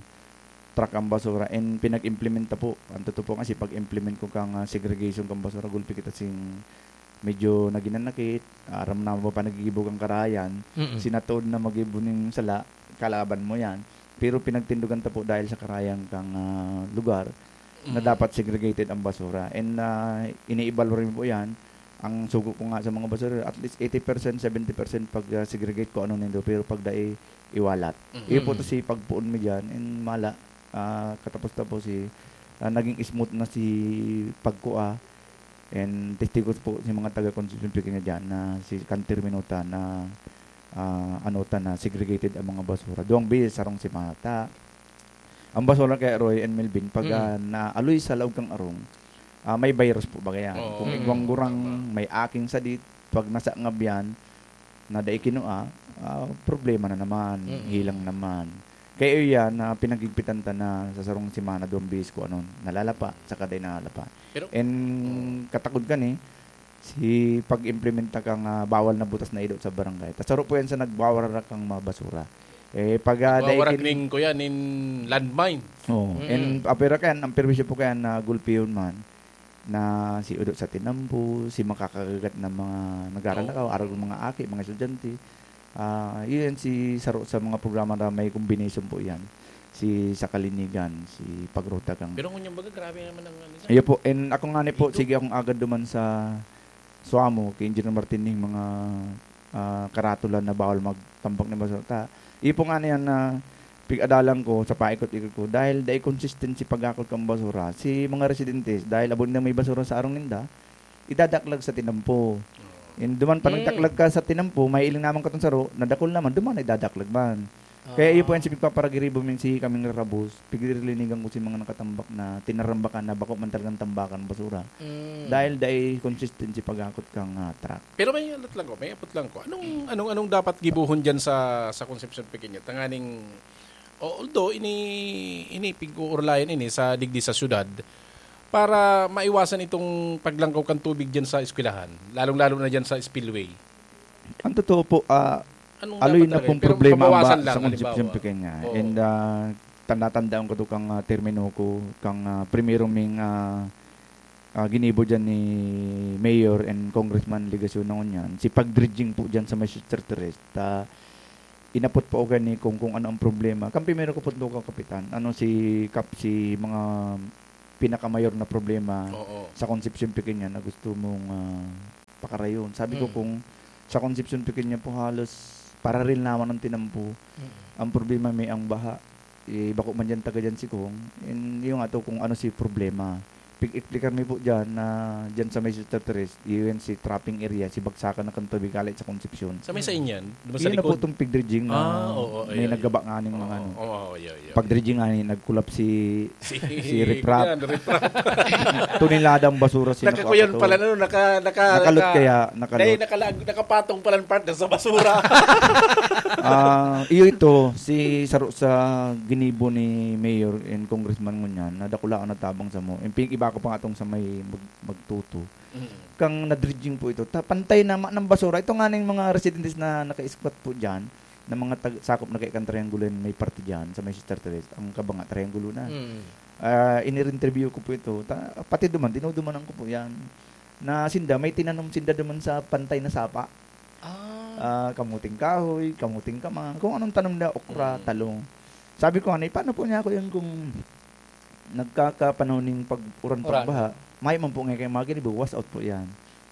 truck ang basura and pinag-implementa po. Ang totoo po kasi pag-implement ko kang, ah, segregation kang basura, gulpi kita sing medyo naginanakit, aram na mo pa nagigibo kang karayan, Mm. sinatood na magibo ning sala, kalaban mo yan. Pero pinagtindugan ta po dahil sa karayan kang, ah, lugar na Mm. dapat segregated ang basura. And, ah, iniibalwa rin po yan. Ang sugo ko nga sa mga basura, at least eighty percent, seventy percent pag, ah, segregate ko ano nindo, pero pag dai, iwalat. Mm. Iyo po to si pagpuon mi dyan, and mala, ah, katapos-tapos si, ah, naging smooth na si pagkua, and testigo po si mga taga Concepcion Pequeña dyan na si Kantir Minuta na, ah, ano ta na segregated ang mga basura. Duwang beses sarong semana ta. Ang basura kaya, Roy and Melvin, pag, Mm. ah, naaloy sa laog kang arong, ah, may virus po ba kaya? Oo. Kung Mm. igwang gurang, Tama. may aking sadit, pag nasangab yan, na dai kinua, ah, problema na naman, Mm. hilang naman. Kaya yan, na pinagigpitan ta na sa sarong semana, duwang beses ko, ano, nalalapa, saka dai nalalapa. Pero And Oo. katakod ka ni, si pag-implementa kang, ah, bawal na butas na ido sa barangay. Tas saro po yan sa nagwawararak kang mga basura. Eh, pag, ah, Nagwawarak dai kin- ning, kuya, nin landmine. Oo. Mm. And, ah, pero kan, ang perwisyo po kaya na gulpihon man, na si Udo sa Tinampo, si makakagagat na mga nagaralakaw, Oo. arog mga aki, mga estudyante. Ah, yun si saro sa mga programa na may combination po yan. Si sa Kalinigan, si Pagruta kang Pero ngunyan baga, grabe naman ang ano, sir. Iyo po, and ako nga ni po, Dito. sige akong agad duman sa Suamo, kay Engineer Martin, yung mga, ah, karatulan na bawal magtambak ng basura. Ta, iyo po nga na yan na pig-adalan ko sa paikot-ikot ko, dahil dai consistent si pag-akot kang basura. Si mga residentes, dahil abo na may basura sa arong ninda, idadaklag sa tinampo. And duman pa Mm. nagdaklag ka sa tinampo, may iling naman katong saro, nadakol naman, duman na idadaklag man. Kaya iyo po Ah. yan si pigpaparagiribo min si kaming rarabos, pigrilinigan ko si mga nakatambak na tinarambakan na bako man talagang tambakan basura. Mm. Dahil dai consistency pag-akot kang, ah, truck. Pero may alat lang ko, may apot lang ko. Anong, anong, anong dapat gibuhon dyan sa, sa Concepcion Pequeña? Tanganing, o-, although ini, ini pig-uurlayan ini sa digdi sa syudad, para maiwasan itong paglangkaw kan tubig dyan sa eskwelahan, lalong-lalo na dyan sa spillway. Ang totoo po, ah, Anong aloy dapat na talaga pong yun? Pero problema ang mabawasan ba lang, sa Concepcion halimbawa. Pequeña. Oo. And, ah, tanda-tandaan ko to kang, ah, termino ko, kang, ah, primero ming, ah, ah, ginibo diyan ni Mayor and Congressman Legacion na ngunyan, si pag-dredging po diyan sa may Sister Therese, ta inapot po ako ni kung, kung ano ang problema. Kan primero ko po doon, Kapitan, ano si Kap, si mga pinakamayor na problema Oo. sa Concepcion Pequeña na gusto mong, ah, pakarayon. Sabi ko, Mm. kung sa Concepcion Pequeña po, halos pararil naman ang tinampo. Mm. Ang problema may ang baha. Eh, bako man diyan, taga diyan si Kong. And yung ato kung ano si problema. Pig-explicar mi po diyan na diyan sa may Sister Therese, yun si trapping area, si bagsakan na kan tubig hale sa Concepcion. Sa may sa inyan? Di ba sa Yun na po likod? Itong pig-dredging na Ah, oo, may ayun, nagaba ayun. nga ning mga Oo, ano. oo, oo, ayun, ayun. Pag-dredging nga ni, nag-collapse si, Si, si riprap. yan, riprap. Tonelada ang basura si Nakakuyan nakapato. pala, ano, naka, naka, Nakalot naka, kaya, nakalot. Dahil nakala-, nakapatong pala ang partner sa basura. Ah, iyo ito, si saro sa ginibo ni Mayor and Congressman ngunyan, na dakula ang natabang sa mo. Yung pin-, iba ko pa nga itong sa may mag-, magtuto. Mm. Kang na-dredging po ito. Ta-, pantay na ma-, ng basura. Ito nga na yung mga residentes na naka-squat po dyan, na mga tag-, sakop na kay kang Triangulo yan, may parte dyan, sa may Sister Therese. Ang kabanga, Triangulo na. Mm. Ah, in-interview ko po ito. Ta-, pati duman, dinudumanan ko po yan. Na sinda, may tinanom sinda duman sa pantay na sapa. Ah. Ah, kamuting kahoy, kamuting kamang, kung anong tanom na, okra, Mm. talong. Sabi ko, "Ano, paano po niya ako yun kung nagkakapanahon ning pag-uran, Uran. pagbaha? May man po nga kayo mga ginibo, wash out po yan.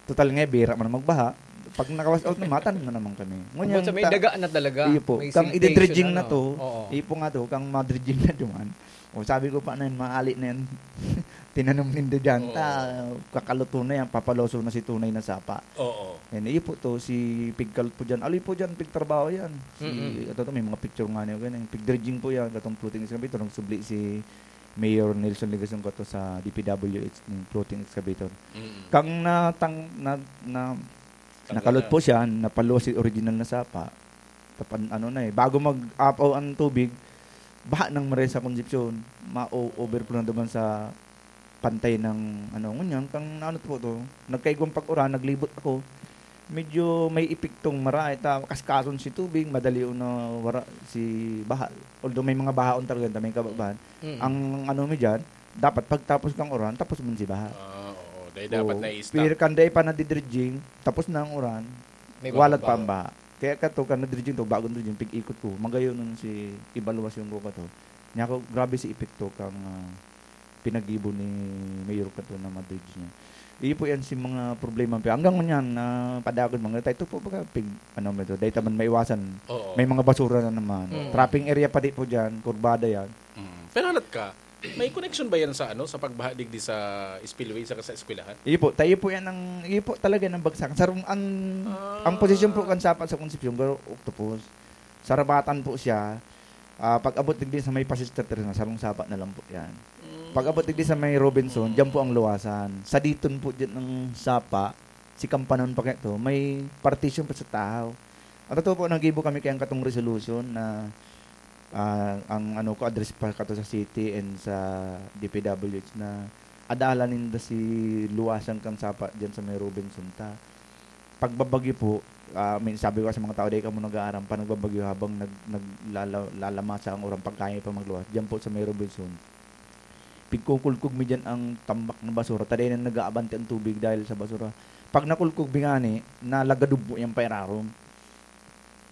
Total nga, bira man magbaha. Pag naka-wash out na, matanim na naman kami." Ngunyan, Abot sa may ta-, daga na talaga. Iyo po. May Kang siltation, ididredging na ano. to, Oo. iyo po nga to, kang madredging na duman. O, sabi ko pa na yun, maali na yan. Tinanom ninda dyan. Oo. Ta, kakaluto na yan, papaloso na si tunay na sapa. Oo. And iyo po to, si pigkalot po dyan. Aloy po dyan, pigtrabaho yan. Si, Mm-mm. ito to, may mga picture nga niya, ganyan. Pig-dredging po yan, katong floating excavator, nagsubli si Mayor Nelson Legacion kato sa D P W H, yung floating excavator. Mm. Kang natang-, na, na, Tanggal nakalot na. po siya, napaluwas si original na sapa. Tapan, ano na eh, bago mag-apaw ang tubig, baha nang maray sa Concepcion, ma-o-, overflow na naman sa pantay ng, ano, ngunyan, kang ano po to, nagkaigwang pag-uran, naglibot ako. Medyo may epektong marahay ta, kaskason si tubig, madali na wara si baha. Although may mga bahaon talaga, may kababahan. Mm. Ang ano mi dyan, dapat pagtapos kang uran, tapos man si baha. Ah, oo. Dahil Oo. dapat na-stop. Pero kan dai pa nadidredging, tapos na ang uran, May walat pa bababa. ang baha. Kaya kato, kan nadredging to, bagong dredging, pig-ikot ko. Magayon nun si evaluation ko kato. Niya ako, grabe si epekto kang, ah, pinagibo ni Mayor kato na madredge niya. Iyo po yan si mga problema. Pero hanggang ngunyan, na padagos, mga tayo, ito po baga, pig, ano mo ito, dahil taman maiwasan. Oo. May mga basura na naman. Mm. Trapping area pa di po dyan, kurbada yan. Mm. Pero halat ka, may connection ba yan sa, ano, sa pagbaha digdi sa spillway saka sa eskwelahan? Iyo po, tayo po yan ang, iyo po talaga ng bagsak. Sa rung-, ang, Ah. ang posisyon po kan sapa sa Concepcion, garo octopus. Sa rabatan po siya, ah, pag-abot digdi sa may pa-Sister Teresa, sarong sapa na lang po yan. Mm. Pag-abot digdi sa may Robinson, Mm. diyan po ang luwasan. Sa diton po diyan ng sapa, si Kampanon pa kayo to, may partition pa sa tahaw. Ang totoo po, nag-ibo kami kayang katong resolution na, ah, ang ano ko, address pa kato sa city and sa D P W H na adalan ninda si luwasan kan sapa diyan sa may Robinson ta. Pagbabagyo po, ah, may sabi ko sa mga tao, "Dai kamo nag-aaram pa, nagbabagyo habang nag-, naglala-, lalamasa ang uran, pagkain pa magluwas." Diyan po sa may Robinson, pigkukulkog mi diyan ang tambak na basura. Ta dai na nag-aabante ang tubig dahil sa basura. Pag nakulkog mi ngani, nalagadob po yan pairarom.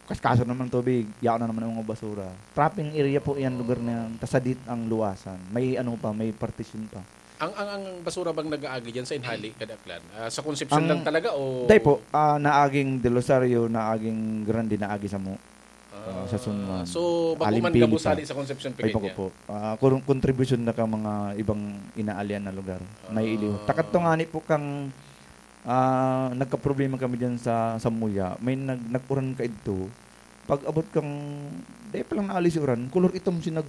Kaskaso naman tubig, yaon na naman ang mga basura. Trapping area po yan, lugar na yan. Tas sadit ang luwasan. May ano pa, may partition pa. Ang, ang, ang basura bang nag-aagi dyan sa Inhali, Kadaklan? Ah, sa Concepcion Ang lang talaga o Dai po, ah, naaging Del Rosario, naaging Grande, naagi sa mo. Ah, Ah, sa Sunman. so, bako man Alimpili gabos pa. hali sa Concepcion Ay, po Pequeña? po. Ah, kun-, kontribusyon na kang mga ibang inaalian na lugar. May Ah. iliw. Takat to nga ni po kang, ah, nagkaproblema kami dyan sa, sa Muya. May nag-, nag-uran ka idto. Pag abot kang, dai pa lang naalis yung uran, kulor itom si nag-,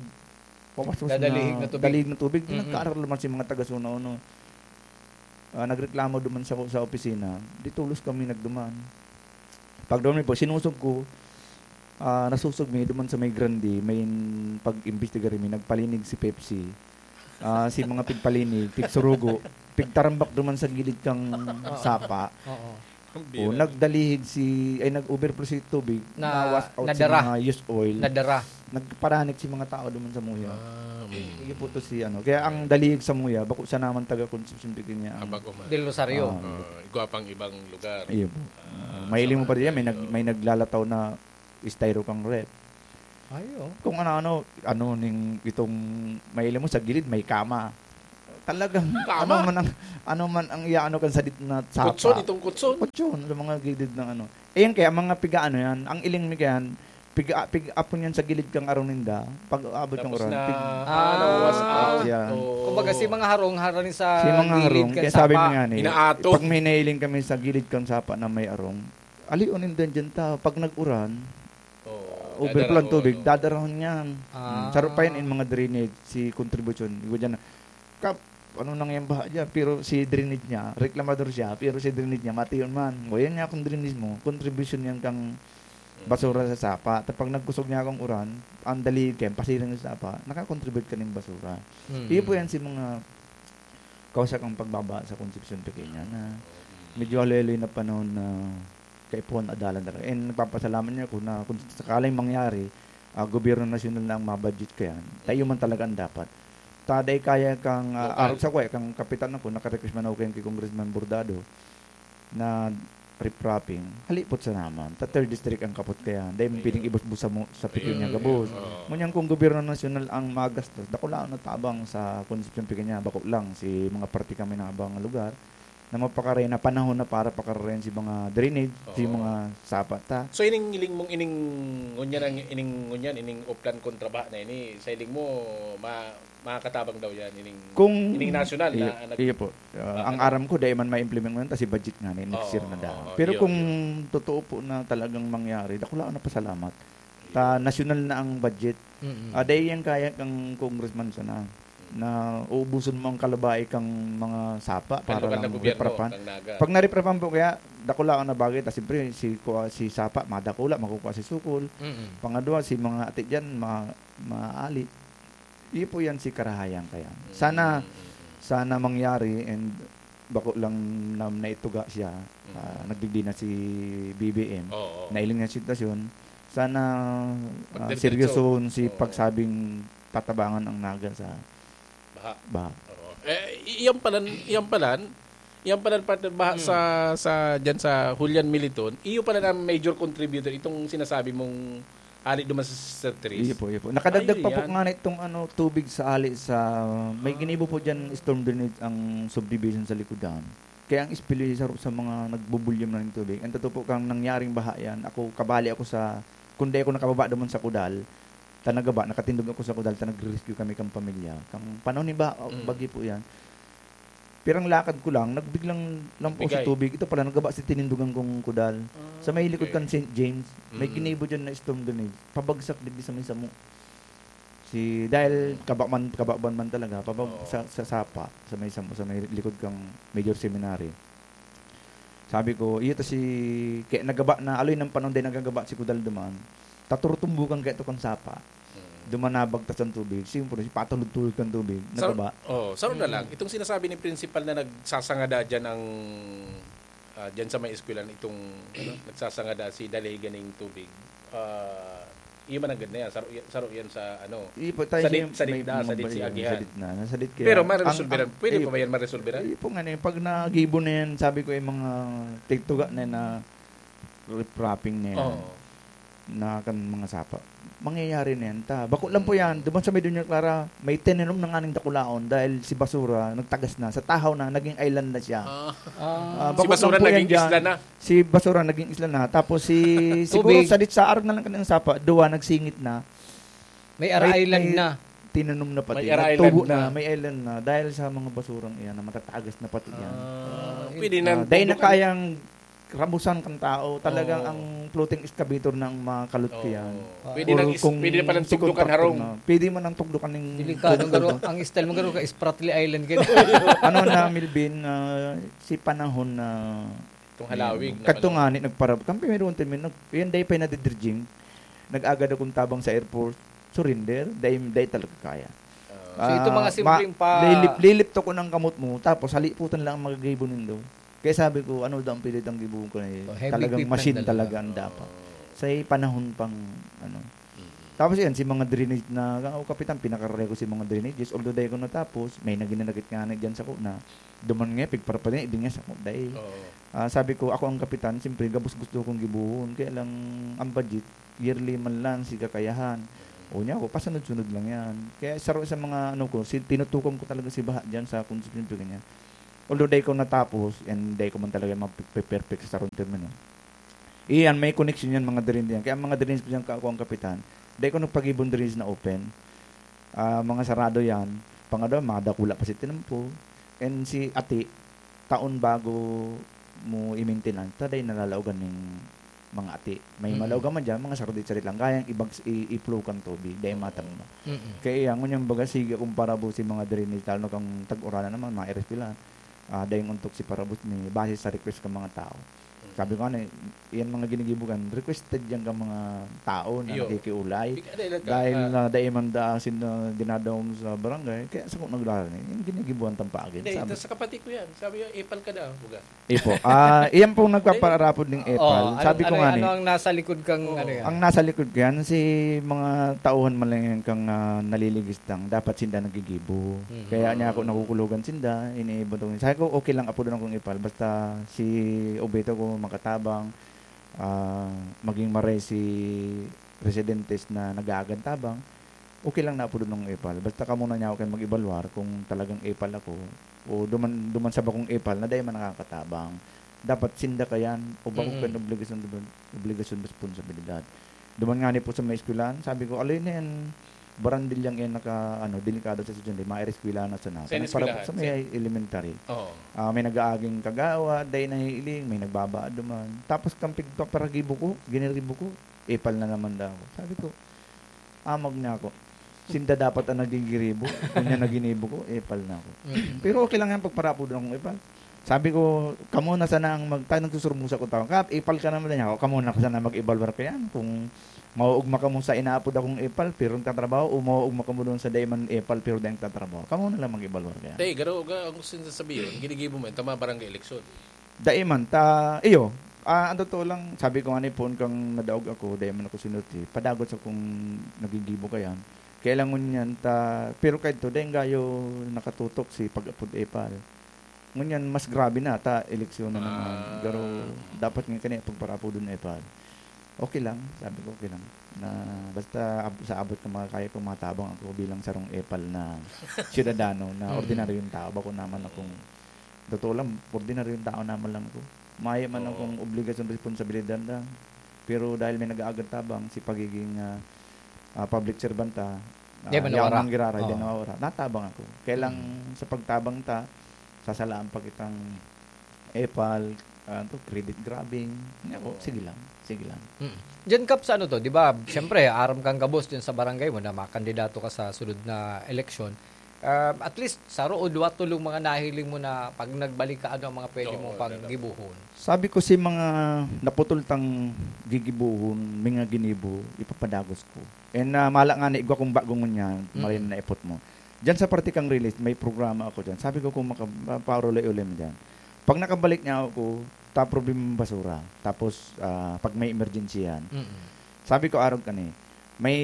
pawas-was Dadalihig na na tubig. dalihig na tubig. Mm-mm. Nagkaaral naman si mga taga Suna, ano. Ah, nagreklamo duman sa, sa opisina. Di tulos kami nagduman. Pag duman po, sinusog ko, ah, nasusog mi duman sa may Grande, may pag-imbestigar mi, nagpalinig si Pepsi. Ah, si mga pigpalinig, pigsurugo, pigtarambak duman sa gilid kang Oo. sapa. Oo. O, nagdalihig si, ay, nag-overflow si tubig, na-wash out si mga used oil. Nadara. Nagparanit si mga tao duman sa muya. Ah, mm. Iyo po to si ano. Kaya ang dalihig sa muya, bako sa naman taga Concepcion Pequeña ang Del Rosario. Ah, igwa pang ibang lugar. Iyo po. Ah, mahiling mo pa diyan, may nag-, may naglalataw na styro kang ref. Ay, oh. Kung ano-ano, ano ning itong mahiling mo sa gilid, may kama. Talagang ano man ang, ano man ang iaano kan sadit na sapa. Kutson, itong kutson. Kutson, sa mga gilid ng ano. Ayan kaya, mga piga-ano yan, ang iling mi kayan, piga-, pig-apon yan sa gilid kang arong ninda, pag aabot kang uran, na, pig-, ah, nawas out. Yan. Oo. Kumbaga, si mga harong, harani sa gilid kan sapa. Si mga harong, kaya sabi mi nga ni, inaato. Pag may nailing kami sa gilid kang sapa na may arong, alion ninda dyan ta, pag nag-uran, overflow ang tubig, dadarahon niyan. Ah. Hmm, saro pa yan in mga drainage, si kontribusyon. Iwa dyan na, kap, ano nang yan baha dyan? Pero si drainage niya, reklamador siya, pero si drainage niya, mati yun man. O yan nga kung drainage mo, kontribusyon yan kang basura sa sapa. Tapos pag nagkusog niya akong uran, ang dali kayo, pasiring sa sapa, nakakontribute ka ng basura. Mm. Iyo po yan si mga kausa kang pagbaba sa Concepcion Pequeña na medyo haloy-haloy na panahon na kaipuhan adalan talaga. And nagpapasalamat niya ako na kung sakaling mangyari, ah, gobyerno nasyonal na ang mabudget kayan, tayo man talaga ang dapat. Ta, dai kaya kang, ah, arog sa kuya, kang kapitan ako, naka-request man ako kay Congressman Bordado na riprapping. Halipot sa naman. Ta third district ang kapot kaya. Dai mo piling ibusbus sa mo, sa Pequeña gabos. Oo. Ngunyan kung gobyerno nasyonal ang magastos, dakula na tabang sa Concepcion Pequeña, bako lang si mga parte kami na abang lugar. Na mapakarayan na panahon na para pakarayan si mga drainage, si mga sapa ta. So, ining hiling mong ining, ngunyan ang, ining, ngunyan, ining Oplan kontra baha na ini, sa hiling mo, ma-, makakatabang daw yan, ining, kung ining nasyonal na, iyo, nag-, iyo po. Ah, ang ano? Aram ko, dahil man ma-implement mo yan, kasi budget nga na, next year na daw. Oo, oo, pero iyo, kung iyo. Totoo po na talagang mangyari, dakula ako na pasalamat. Ta, nasyonal na ang budget. Mm-mm. Ah, dahil yan kaya kang congressman sana. Na uubuson mo ang kalabaay kang mga sapa para lokal na lang gobyerno, riprapan. Kang Naga. Pag nariprapan po kaya, dakula ang nabagay, tas siyempre, si, kuha, si sapa, madakula, makukuha si sukol. Mm-mm. Pangadwa, si mga ate dyan, ma-, maali. Iyo po yan si karahayan kaya. Sana, mm, sana mangyari and bako lang na naituga siya. Mm. Ah, nagdigdi na si B B M. Oo, oo. Nailing na sitwasyon. Sana, ah, seryosohon si pagsabing tatabangan ang Naga sa baha. Baha. Oo. Eh, i-, iyan palan, iyan palan, iyan palan partner baha sa, sa, dyan sa Julian Militon. Iyo pala na major contributor itong sinasabi mong hali duman sa Sister Therese. Iyo po, iyo po. Nakadagdag pa po nga na itong, ano, tubig sa hali sa, may ginibo po dyan, storm drainage ang subdivision sa Likodan. Kaya ang espelyo sa, sa mga nagbubulyom na ng tubig. Ang totoo po, kang nangyaring baha yan, ako, kabali ako sa, kung di ako nakababa duman sa Kudal, ta nagaba, nakatindog ako sa Kudal, ta nagre-rescue kami kang pamilya. Kang panahon ni ba, mm, bagyo po yan. Pirang lakad ko lang, nagbiglang lampo sa tubig. Ito pala, nagaba si tinindugan kong Kudal. Ah, sa may likod kan Saint James, may ginibo dyan na storm drainage. Pabagsak digdi sa may samo. Si, dahil kabaman, kababan man talaga, pabag-, sa, sa sapa, sa may samo, sa may likod kang Major Seminary. Sabi ko, iyo ta si, kaya nagaba na, aloy ng panahon din nagagaba si Kudal duman. Taturtumbukan kaya to kang sapa. Mm. Duman nabagtas ang tubig. Siyempre, patulog-tulog kang tubig. Saro, nagaba. Oh, saro na lang. Mm. Itong sinasabi ni principal na nagsasangada dyan ang, ah, dyan sa may eskwelahan, itong, ano, nagsasangada si Daligan ng tubig. Ah, iyo man ang ganda yan. Saro, saro yan sa, ano, iyo po, tayo sa dit-, sa may, ditda, sa may, dit si may, agihan. Sa ditna, nasa dit kaya. Pero maresolveran. Ang, ang, pwede iyo pa ba po yan maresolveran? Iyo po nga na yun. Pag nagibo na yan, sabi ko yung mga tigtuga na, na riprapping na yan. Oo. Na kan mga sapa. Mangyayari na yan ta. Bako lang po yan. Duman sa may Doña Clara, may tinanom na nga ning dakulaon dahil si basura, nagtagas na. Sa tahaw na, naging island na siya. Ah. Ah, si bako basura lang po yan naging dyan. Isla na. Si basura naging isla na. Tapos si, siguro tubig. Sa dit sa arog na lang kanang sapa, duwa nagsingit na. May Air May, Island may na. Tinanom na pati. May Air Island na. Nagtubo na, may island na. Dahil sa mga basurang iyan na matatagas na pati yan. Ah, pwede na. Ah, dahil na kayang rabusan kang tao, talagang ang floating excavator na ang makalot ko yan. Oo. Pwede nang is-, pwede na palang tugdukan harong. Pwede man ang tugdukan ng Delikado, tugdok. Garo, ang style mo, garo, ka Spratly Island, garo. Ano na, Melvin, ah, si panahon na itong halawig na kadto panahon. Nga ni, nagparab-, kampi meron termin, nag-, yan, dahil pa yung nadidridging, nag-agad akong tabang sa airport, surrender, dahil, dahil talaga kaya. Ah. So, ito mga simpleng pa- lilip-, lilipto ko ng kamot mo, tapos haliputan lang ang magagaybo nindo. Kaya sabi ko, "Ano daw ang pilit ang gibohon ko na eh? Oh, heavy Talagang equipment machine talaga. talaga ang dapat." Sa panahon pang, ano. Mm. Tapos yan, si mga drainage na, "Oh, Kapitan, pinakarare ko si mga drainages." Although dai ko natapos, may naginanakit nga na dyan sa ko na, duman nga, pigparaparin, idin nga sa ko, dai. Oo. Ah, sabi ko, "Ako ang kapitan, siyempre, gabos gusto kong gibohon." Kaya lang, ang budget, yearly man lang, si kakayahan. O niya ako, pasunod-sunod lang yan. Kaya saro sa mga, ano ko, si, tinutukan ko talaga si Baha dyan sa kung sino ganyan. Although dai ko natapos, and dai ko man talaga mape-perfect sa sarong termino. Iyan, may connection yan, mga drains yan. Kaya ang mga drains ko dyan, ka-, ako ang kapitan, dai ko nagpagibon drains na open. Ah, mga sarado yan. Pangadwa, mga dakula pa si tinampo. And si ati, taon bago mo i-maintenance, ta dai nalalaogan ning mga ati. May Mm. malaogan man dyan, mga sarado-sarado lang. Kayang ibag-, i-, i-flow kang tubig, dai matangma. Mm. Kaya yan, ngunyan baga, sige akong parabo si mga drainage, lalo na kang tag-uranan naman, mga iris pila. Ah, dai yung untok si parabot ni base sa request ka mga tao. Sabi ko, ano, eh, yan mga ginigibo kan, requested yan ka mga tao na Iyo. nakikiulay. Ika-, ano, ano, Dahil ah, na dai man da sin, ah, dinadawong sa barangay, kaya sa kung naglaran eh, yung ginigibuhan tampagin. Hindi, Sabi, ito sa kapatid ko yan. Sabi niya, "Epal ka daw, buga." Ipo. Ah, iyan pong nagpaparapod ng Oo, epal. ano, Sabi ko ano, nga ano ni, ang nasa likod kang Oo. ano yan? ang nasa likod ko yan, si mga tauhan man lang yan kang, ah, naliligis lang. Dapat sinda nagigibo. Mhm. Kaya niya ako nakukulogan sinda, iniibutong. Sabi ko, "Okay lang, apodon akong epal. Basta si Obito ko makatabang, ah, maging maray si residentes na nag-aagan tabang, okay lang na apodon akong epal. Basta kamo na niya ako kayo mag-evaluar kung talagang epal ako o duman, duman sa bakong epal na dai man nakakatabang. Dapat sinda kayan o bako Mm. kayan obligasyon, obligasyon, responsibilidad." Duman nga ni po sa may eskwelahan, sabi ko, "Alin na yan? Barandilyang yan naka, ano, delikado sa estudyante, mga eskwelahan na sana." Sa Kanang para eskwelahan, sa may sa elementary. Oo. Ah, may nag-aaging kagawa, dai nahihiling, may nagbabaa duman. Tapos kang pigpaparagibo ko, giniribo ko, epal na naman daw ako. Sabi ko, "Amag niya ako. Sinda dapat ang nagigiribo. Kung niya naginibo ko, epal na ako." Mm. Pero okay lang yan, pagparapod akong epal. Sabi ko, "Kamo na sana ang mag-, tayo nagsusurmusa ko tao. Kap, epal ka naman niya ako. Kamo na sana mag-evaluar ko yan. Kung mauugma kamo sa inaapod akong epal, pero nagtatrabaho, o mauugma kamo doon sa dai man epal, pero dai nagtatrabaho. Kamo na lang mag-evaluar ko yan." Te, garo, ga-, ang gusto nyo sabihin, ginigibo mo yan, tama barangay eleksyon. Dai man, ta, iyo, ah, ang totoo lang, sabi ko nga ni, poon kang nadaog ako, dai man ako sinuti, padagot sa kung nagigibo ka yan. Kaya lang ngunyan, ta, pero kaidto, dai gayo nakatutok si pag-apod epal. Ngunyan, mas grabe na, ta, eleksyon na naman. Ah. Pero dapat nga kani, pagparapodon epal. Okay lang, sabi ko, okay lang. Na, basta ab-, sa abot ng mga kaya ko, matabang ako bilang sarong epal na siyudadano, na Mm. ordinaryong tao. Bako naman akong, totoo lang, ordinaryong tao naman lang ako. Maya man Oo. akong obligasyon, responsibilidad lang. Pero dahil may nag-aagan tabang, si pagiging, ah, ah, public servant, ah, Di ah, ba yaon nawara? ang giraray, di Oo. nawawara. Natabang ako. Kaya lang Mm. sa pagtabang ta, sasalaan pa kitang epal, ah, to, credit grabbing. Hindi ako, Oo. sige lang, sige lang. Mm. Diyan, Kap, sa ano to, di ba, siyempre, aram kang gabos dyan sa barangay mo na makandidato ka sa sunod na eleksyon. Ah, at least, saro o duwa, tolong mga nahiling mo na pag nagbalik ka, ano ang mga pwede Oo, mong meron. panggibuhon? Sabi ko, si mga naputol tang gigibuhon, mga ginibo, ipapadagos ko. And, ah, mala nga na igwa kong bago ngunyan, Mm. marin na ipot mo. Diyan sa parte kang release, may programa ako diyan. Sabi ko, kung maka-, ma-, paurulay-ulay mo diyan. Pag nakabalik niya ako, ta problema yung basura. Tapos, ah, pag may emergency yan. Mm. Sabi ko, arog ka ni, may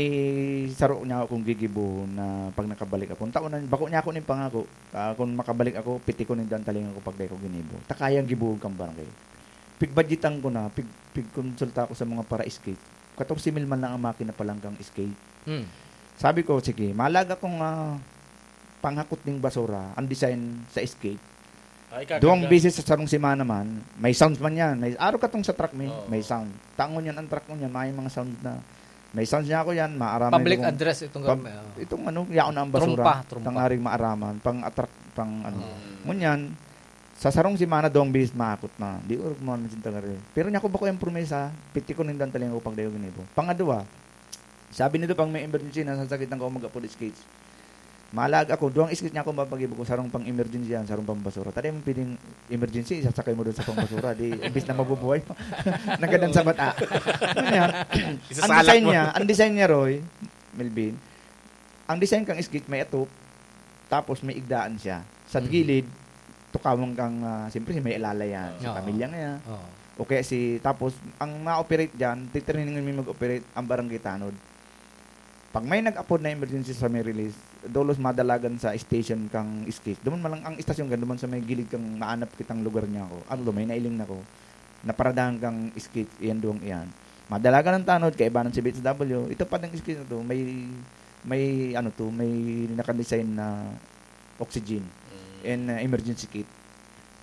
saro niya akong gigibo na pag nakabalik ako. Taon na, bako niya ako ning pangako. Ah, kung makabalik ako, piti ko ning dantalingan ko pag dai ko ginibo. Ta kayang gibuhon kang barangay. Pigbadyetan ko na, pig-, pigkonsulta ko sa mga para-skate. Katorse mil man lang ang makina pa lang kang skate. Hmm. Sabi ko, "Sige, malag akong, ah, panghakot ning basura, ang design sa skate." Ay, kakarga. Duwang beses sa sarong semana man, may sounds man yan. May, araw katong sa truck, may, Oo. may sound. Tangon yan, ang truck mo yan, may mga sound na. May sounds niya ako yan, maaraman Public ko kung address itong pub-, gawin, oo. itong ano, yaon na ang basura. Trumpa, trumpa. Tangaring maaraman, pang attract, pang ano. Mm. Ngunyan, sa sarong semana, duwang beses maakot na. Di orog mo naman sinta gari. Pero niya ko ba ko yung promesa, piti ko nindang talinga ko pag dayo ginibo. Pangadwa, sabi nito, pag may emergency, nasa sakit ng kaumag apod skates. Malag ako, duwang skate niya ako mapagibo ko, sarong pang emergency yan, sarong pang basura. Tadi mo pwedeng emergency, isasakay mo doon sa pang basura, di, imbis na mabubuhay mo. Nagadan sa bata. Ano yan? Ang Isasalak design mo. niya, ang design niya, Roy, Melvin, ang design kang skate may atop, tapos may igdaan siya. Sa Mm. gilid, tukawan kang, ah, siyempre, si may alala yan, si Oo. pamilya nga yan. Oo. O kaya si, tapos, ang ma-operate dyan, titraining mi mag-operate ang barangay tanod. Pag may nag-apod na emergency sa may release, dolos madalagan sa station kang skate. Duman man lang ang istasyon kan, duman sa may gilid kang maanap kitang lugar niya ako. Ano, may nailing na ko. Naparadahan kang skate, iyan duwang iyan. Madalagan ang tanod, kaibanan si B H W. Ito pa ding skate na to, may, may ano to, may nakadesign na oxygen Mm. and, uh, emergency kit.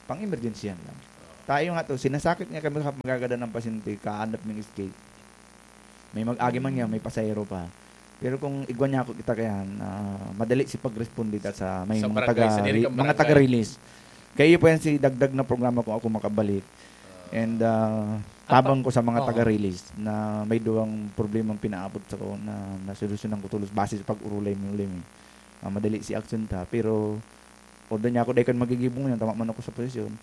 Pang-emergency yan lang. Tayo nga to, sinasakit nga kami kapag magagadan ng pasyente, kaanap ng skate. May mag-agi man niya, may pasahero pa. Pero kung igwa niya ako kita kayan, ah, madali si pag-responde ta sa may Sa mga barangay, taga, sa diri kang mga barangay. taga-release. Kaya iyo po yan si dagdag na programa kung ako makabalik. And, ah, Ah, tabang pa-, ko sa mga oo. taga-release na may duwang problemang pinaabot sa ko na nasolusyonan ko tulos base sa pag-urulay mo ulit. Ah, madali si action ta, pero although niya ako dahil kan magigibong yan, tama man ako sa posisyon.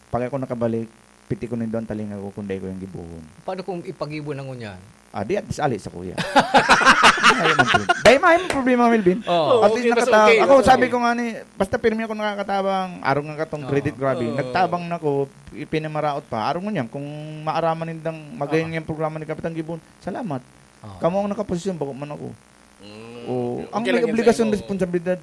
Pag ako nakabalik, piti ko nindo ang talinga ko kung dahil ko yung gibuhon. Paano kung ipag-ibon ang ngunyan? Ah, di at disali sa kuya. Ayaw man problema. Dahil may problema, Melvin. Oo. At Oo, least okay, mas nakata-, okay, ako, okay. sabi ko nga ni, basta pirmi ako nakakatabang, arong nga katong Oo. credit, grabe. Oo. Nagtabang na ko, ipinamaraot pa. Arong ngunyan, kung maaraman nindang magayon Oo. yung programa ni Kapitan Gibon, salamat. Oo. Kamo ang nakaposisyon, bako man ako. Mm, Oo. okay. Ang Okay may lang yan sa obligasyon, imo. responsibilidad,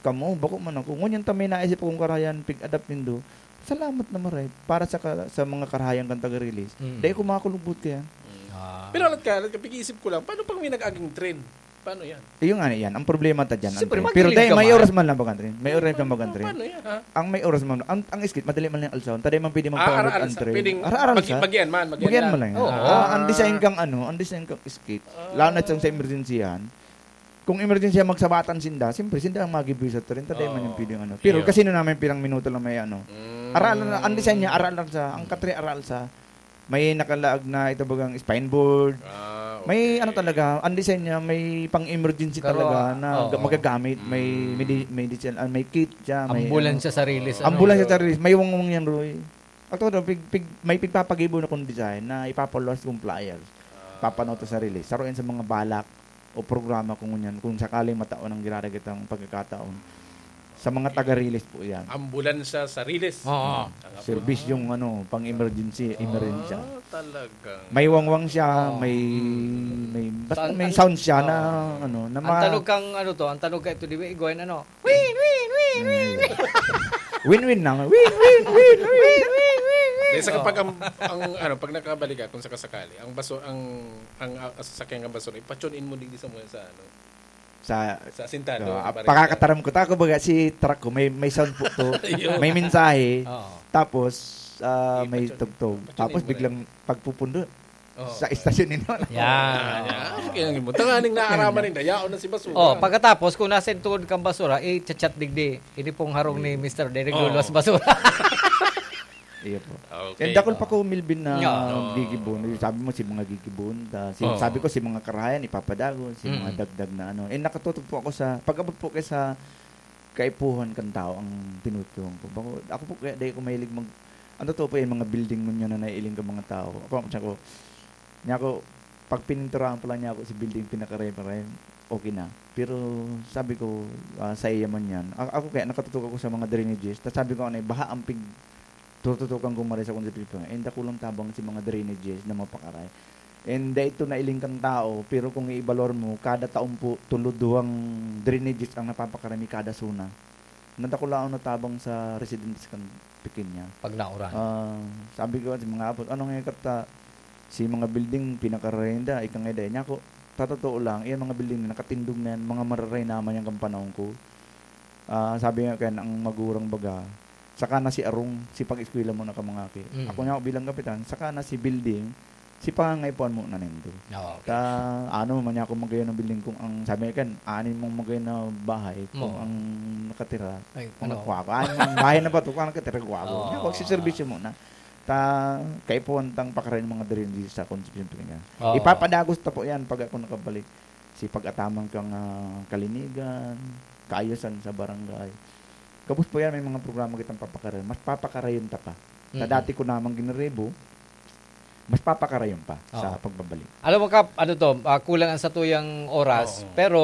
kamo, bako man ako. Ngunyan ta may naisip akong karahayan, pig-adapt nindo. Salamat na maray para sa ka-, sa mga karahayan kan taga-release. Mm. Dahil ko makakulubot kaya. Mm. Ah. Pero alat ka, alat ka, pag-iisip ko lang, paano pag may nag-aging train? Paano yan? Iyo nga na yan. Ang problema ta dyan, ang Siyempre, train. Pero magilid dahil ka may man. oras man lang bagang train. May oras man bagang train. Paano yan, ha? Ang may oras man, ang, ang skate, madali man lang alsahon. Taday man pwede Ah, magpaharot aral ang sa, train. pwedeng Aral mag-, sa. bagyan man, bagyan Bagyan lang. man lang. Oo. Ah, ang design kang ano, ang design kang skate. Ah. Lalo na sa, sa emergency yan. Kung emergency yan, magsabatan sinda, siyempre, sinda ang magiboy sa train. Taday man yung Oo. pwedeng ano. Pero Iyo. kasi na naman pirang minuto lang may ano. Mm. Aral na, ang design niya, aral lang sa, ang katri aral sa, may nakalaag na ito bagang spine board. Ah, May okay. ano talaga, ang design niya, may pang-emergency Pero, talaga na oo. ga-, magagamit. May Mm. medi-, medicine, ah, may kit siya, may Ambulansya ano. sa release, ano? Ambulansya sa release. May wangwang yan, Roy. Actually, pig-, pig-, may pigpapagibo na kong design na ipapaluwas kong flyers. Ah. Papanoto sa release. Saruin sa mga balak o programa kung ngunyan, kung sakaling mataon ang ginaragit ang pagkakataon. Sa mga taga-release po yan. Ambulansya sa release. Oo. Ang apo- Serbisyong, ano, pang-emergency, Ah, emergency. talagang May wangwang siya, Oo. may, may, basta Saan, may an-, sound siya na, oo. ano, na Ang ma- tanog kang, ano to, ang tanog ka ito, di ba, Igoy, ano? Win, win, win, win, win. Win-win lang. Win, win, win, win. Win, win, win, win. Di, sa Oh. kapag ang, ang, ano, pag nakabalik ka, kung sakasakali, ang baso-, ang, ang, ah, sasakyan ng basura, ipatune in mo digdi sa mga sa, ano, Sa, sa asintado, so, ah, sa barangay. pakakataram ko. Tako baga, si truck ko, may, may sound po to. Ayun. May mensahe. Oo. Tapos, ah, may Ipatune. tugtog. Patune Tapos mo na biglang pagpupundo. Oo. Sa istasyon ninyo. Yan. Ah, yan. Kaya nga, tanganing naaraman ninda, yaon na si basura. Oh, pagkatapos, kung nasa tuod kang basura, i-chat-chat digdi. Ini pong harong ni Mister Derek Oo. Lolo sa basura. Iyo po. Okay. And dakul pa ko, Melvin, na Yeah. Oo. gigibon. Sabi mo, si mga gigibon, ta-, si, Oo. sabi ko, si mga karahayan, ipapadago, si mga Mm. dagdag na ano. And nakatutok po ako sa, pag-abot po kayo sa kaipuhan kan tao ang tinutuon ko. Bako, ako po kaya di ko mahilig mag-, ang totoo po yung mga building mo niya na naiiling ka mga tao. Ako, siya ko, niya ako, pag pininturahan pa lang niya ako sa building, pinakaray-paray, okay na. Pero sabi ko, ah, sa iya man yan. A-, ako kaya nakatutok ako sa mga drainages. Tapos sabi ko, ano, baha ang pig-, tututukan ko maray sa konsepto. Eh, dakulang tabang si mga drainages na mapakaray. And dahil ito nailing kang tao, pero kung iibalor mo, kada taon po, tulo duwang drainages ang napapakarami kada zona. Nadakulaon na tabang sa residents kan Pequeña. Pag nauran. Ah, sabi ko sa mga apot, "Ano nga kata, si mga building, pinakarenda, ika nga dahil niya ako, tatotoo lang, yung mga building na nakatindog na yan, mga mararay naman yan kang panahon ko." Ah, sabi nga kaya ang magurang baga, saka na si Arong, si pag-eskwela mo na ka mga ki. Mm. Ako niya ako bilang kapitan, saka na si building, si pangangaipuan mo na nindo. Oo, okay. Ta, ano man niya ako magayon ng building kung ang sabi nga kan, anin mong magayon na bahay, kung Mo. ang nakatira, Ay, mga ano? kuwako. Anin mong bahay na ba ito? Kung ang nakatira, kuwako. Oo. Niya, kung si servisyo mo na. Ta, kaipuan tang pakaray ng mga diri sa konsepsyon po niya. Oo. Ipapadagos ta po yan pag ako nakabalik. Si pag-ataman kang, ah, kalinigan, kaayusan sa barangay. Gabos po yan, may mga programa kitang papakarayon. Mas papakarayon ta pa. Sa Mm. dati ko namang giniribo, mas papakarayon pa sa Oo. pagbabalik. Alam mo, Kap, ano to, ah, kulang ang satuyang oras, Oo. pero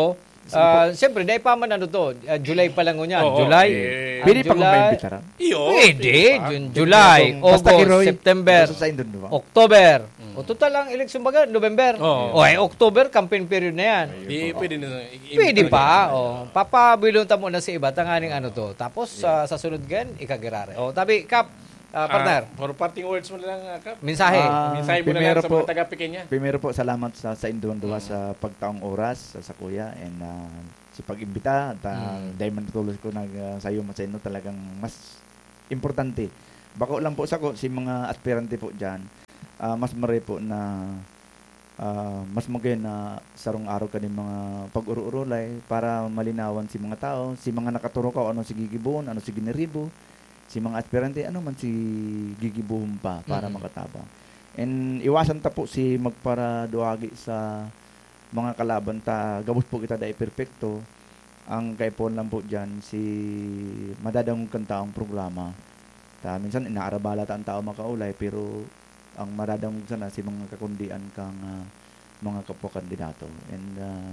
Ah, siyempre, dai pa man ano to, ah, July pa lang ngunyan. Oo, July. eh. Ah, Pwede pa July. Maimbitaran? Iyo, Pwede. pwede pa. June, July, Basta August, Kiroy, September, basta sa Indon, di ba? October. O, total ang eleksyon baga, November. Oo. O, eh, October, campaign period na yan. Di, pwede na. i- i- Pwede i- pa. O, papabilon ta muna sa iba, tanganing ano to. Tapos, sa, sa sunod gan, ikagirare. O, tabi, Kap, ah, partner, Ah, for parting words mo na lang, ah, Kap. mensahe. Ah, Mensahe mo na lang primero sa po, mga taga-Pequeña. primero po, salamat sa, sa Indon Duha sa pagtaong oras sa, sa kuya. And ah, sa pag-imbita, at ah, dahil man tulos ko nag uh, sayo sa inyo, talagang mas importante. Bako lang po sa ko, si mga aspirante po dyan, ah, mas maray po na ah, mas magayon na sarong araw kaning mga pag-uro-urulay para malinawan si mga tao, si mga nakaturok ano si gigibohon, ano si giniribo, si mga aspirante, ano man si gigibohon pa para Mhm. makatabang. And iwasan ta po si magparaduagi sa mga kalaban ta, gabos po kita dai perpekto. Ang kaipuhan lang po dyan, si madadangog kan taong programa. Ta, minsan inaarabala ta ang tao makaulay, pero ang madadangog sana si mga kakundian kang ah, mga kapwa kandidato. And ah,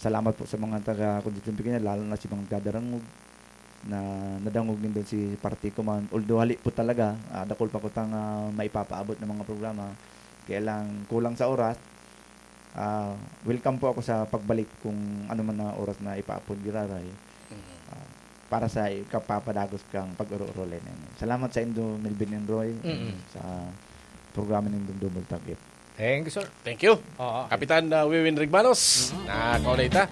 salamat po sa mga taga Constituency Pequeña, lalo na si mga nagdadarangog na nadangog nindo si parti ko man. Although hali po talaga, ah, dakul pa ko tang ah, maipapaabot ng mga programa. Kaya lang kulang sa oras. Ah, welcome po ako sa pagbalik kung ano man na oras na ipaapod giraray. Ah, para sa ikapapadagos kang pag-uro-uro, Lenin. Salamat sa Indo Melvin and Roy Mm-mm. sa programa ng Double Target. Thank you, sir. Thank you. Oo. Kapitan uh, Wiwin Rigmanos, na kaulay ta.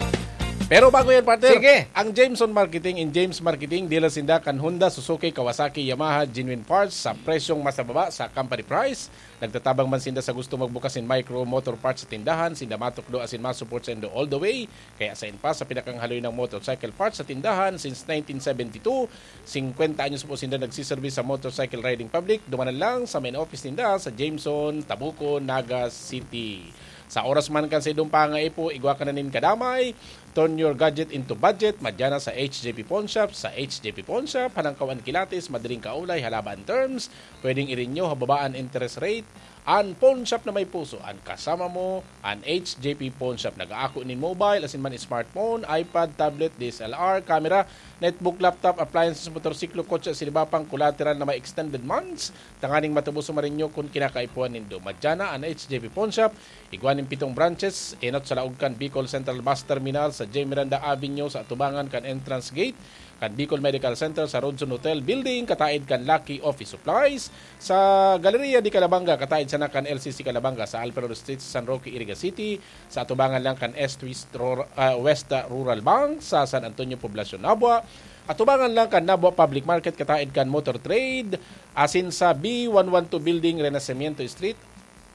Pero bago yan, partner, Sige. Ang Jameson Marketing, in James Marketing, dealer sinda kan Honda, Suzuki, Kawasaki, Yamaha, genuine parts sa presyong mas nababa sa company price. Nagtatabang man sinda sa gusto magbukas nin micro motor parts sa tindahan, sinda matukdo asin masupport sa indo all the way. Kaya sa inpas sa pinakang haloy ng motorcycle parts sa tindahan since nineteen seventy-two, singkwenta anyos po sinda nagsiservis sa motorcycle riding public. Dumanan lang sa main office ninda sa Jameson, Tabuco, Naga City. Sa oras man kan sa idong pangaipo, igwa ka na nin kadamay. Turn your gadget into budget. Madya na sa H J P Pawn Shop. Sa H J P Pawn Shop, hanangkaw an kilatis, madiring kaulay, halaba an terms. Pwedeng irinyo, hababaan interest rate. An pawn shop na may puso, an kasama mo, an H J P Pawn Shop. Nag-aako nin mobile, asin man smartphone, iPad, tablet, D S L R, camera, netbook, laptop, appliances, motorsiklo, kotse, asin iba pang collateral na may extended months. Tanganing matubos sumarinyo kun kinakaipuhan nindo. Madya na an H J P Pawn Shop. Igwa nin pitong branches, enot sa laog kan Bicol Central Bus Terminal, sa J. Miranda Avenue, sa atubangan kan entrance gate, kan Bicol Medical Center, sa Rodson Hotel Building, kataid kan Lucky Office Supplies, sa Galeria de Calabanga, kataid sana kan L C C Calabanga, sa Alfredo Street, sa San Roque, Iriga City, sa atubangan lang kan East West, Rur- ah, West Rural Bank, sa San Antonio, Poblacion, Nabua, atubangan lang kan Nabua Public Market, kataid kan Motor Trade, asin sa B one one two Building, Renacimiento Street,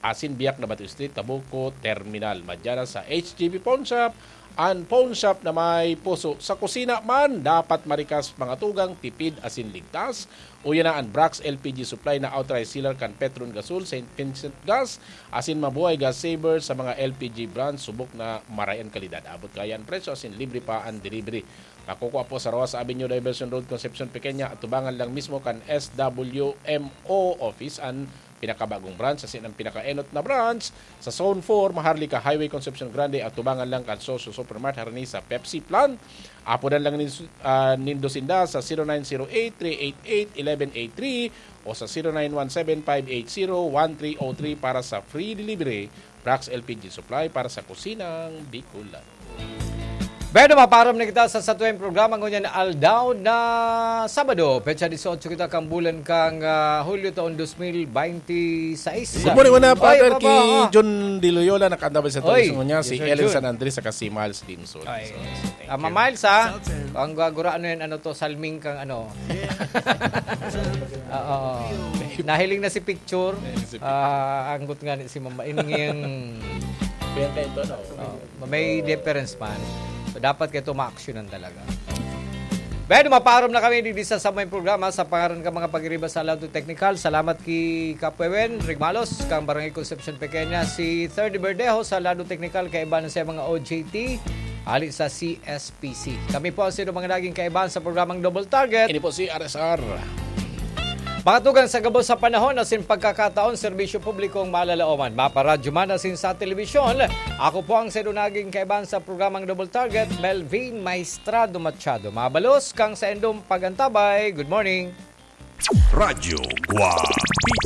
asin Biak na Bato Street, Tabuco Terminal. Madya na sa H J B Pawn Shop, an pawn shop na may puso. Sa kusina man, dapat marikas mga tugang, tipid asin ligtas. Uya na an Brax L P G Supply na authorized sealer kan Petron Gasol, Saint Vincent Gas, asin Mabuhay Gas Saver sa mga L P G brands, subok na maray an kalidad. Abot kaya an presyo, asin libre pa an delivery. Makukua po sa Rojas Avenue, Diversion Road, Concepcion Pequeña, atubangan lang mismo kan S W M O office an pinakabagong branch, asin ang pinakaenot na branch sa Zone four, Maharlika Highway, Concepcion Grande, atubangan lang kan Socio Supermart, harani sa Pepsi plant. Apodan lang nin, ah, nindo sinda sa zero nine zero eight, three eight eight, eleven eight three o sa zero nine one seven, five eight zero, one three oh three para sa free delivery. Brax L P G Supply para sa kusinang Bicolano. Pero maparam na kita sa satuyang programa ngunyan na aldaw na Sabado, petsa dieciocho kita kang bulan kang ah, Hulyo taon dos mil binte y seis. Good morning, muna, Oy, Father, Papa, kay ah. John De Loyola, nakanda ba sa Oy. tulis mo niya? Si Yes, sir, Ellen Jun. San Andres, saka si Miles Dimson. Ay, So, tama, Miles, ha? Ang gaguraan na yan, ano to, salming kang ano. Oo. Nahiling na si picture. Nahiling si picture. Ah, anggot nga ni si Mama. Ining yung Kaya kayo ito, no? Oh, may difference man. So, dapat kayo ma-actionan talaga. Pero maparom na kami digdi sa samay programa sa pangaran ka mga pagiriba sa Lado Technical. Salamat ki Kapwewen Rigmalos, kang Barangay Concepcion Pequeña, si Third Verdejo sa Lado Technical, kaiba na sa mga O J T, ali sa C S P C. Kami po ang sino mga naging kaibahan sa programang Double Target. Ini po si R S R. Patugang sa gabos sa panahon asin pagkakataon, serbisyo publikong malalaoman, maparadyo man asin sa telebisyon. Ako po ang saindo naging kaibahan sa programang Double Target, Melvin Maestrado Machado. Mabalos kang saindong pag-antabay. Good morning. Radyo Guapito.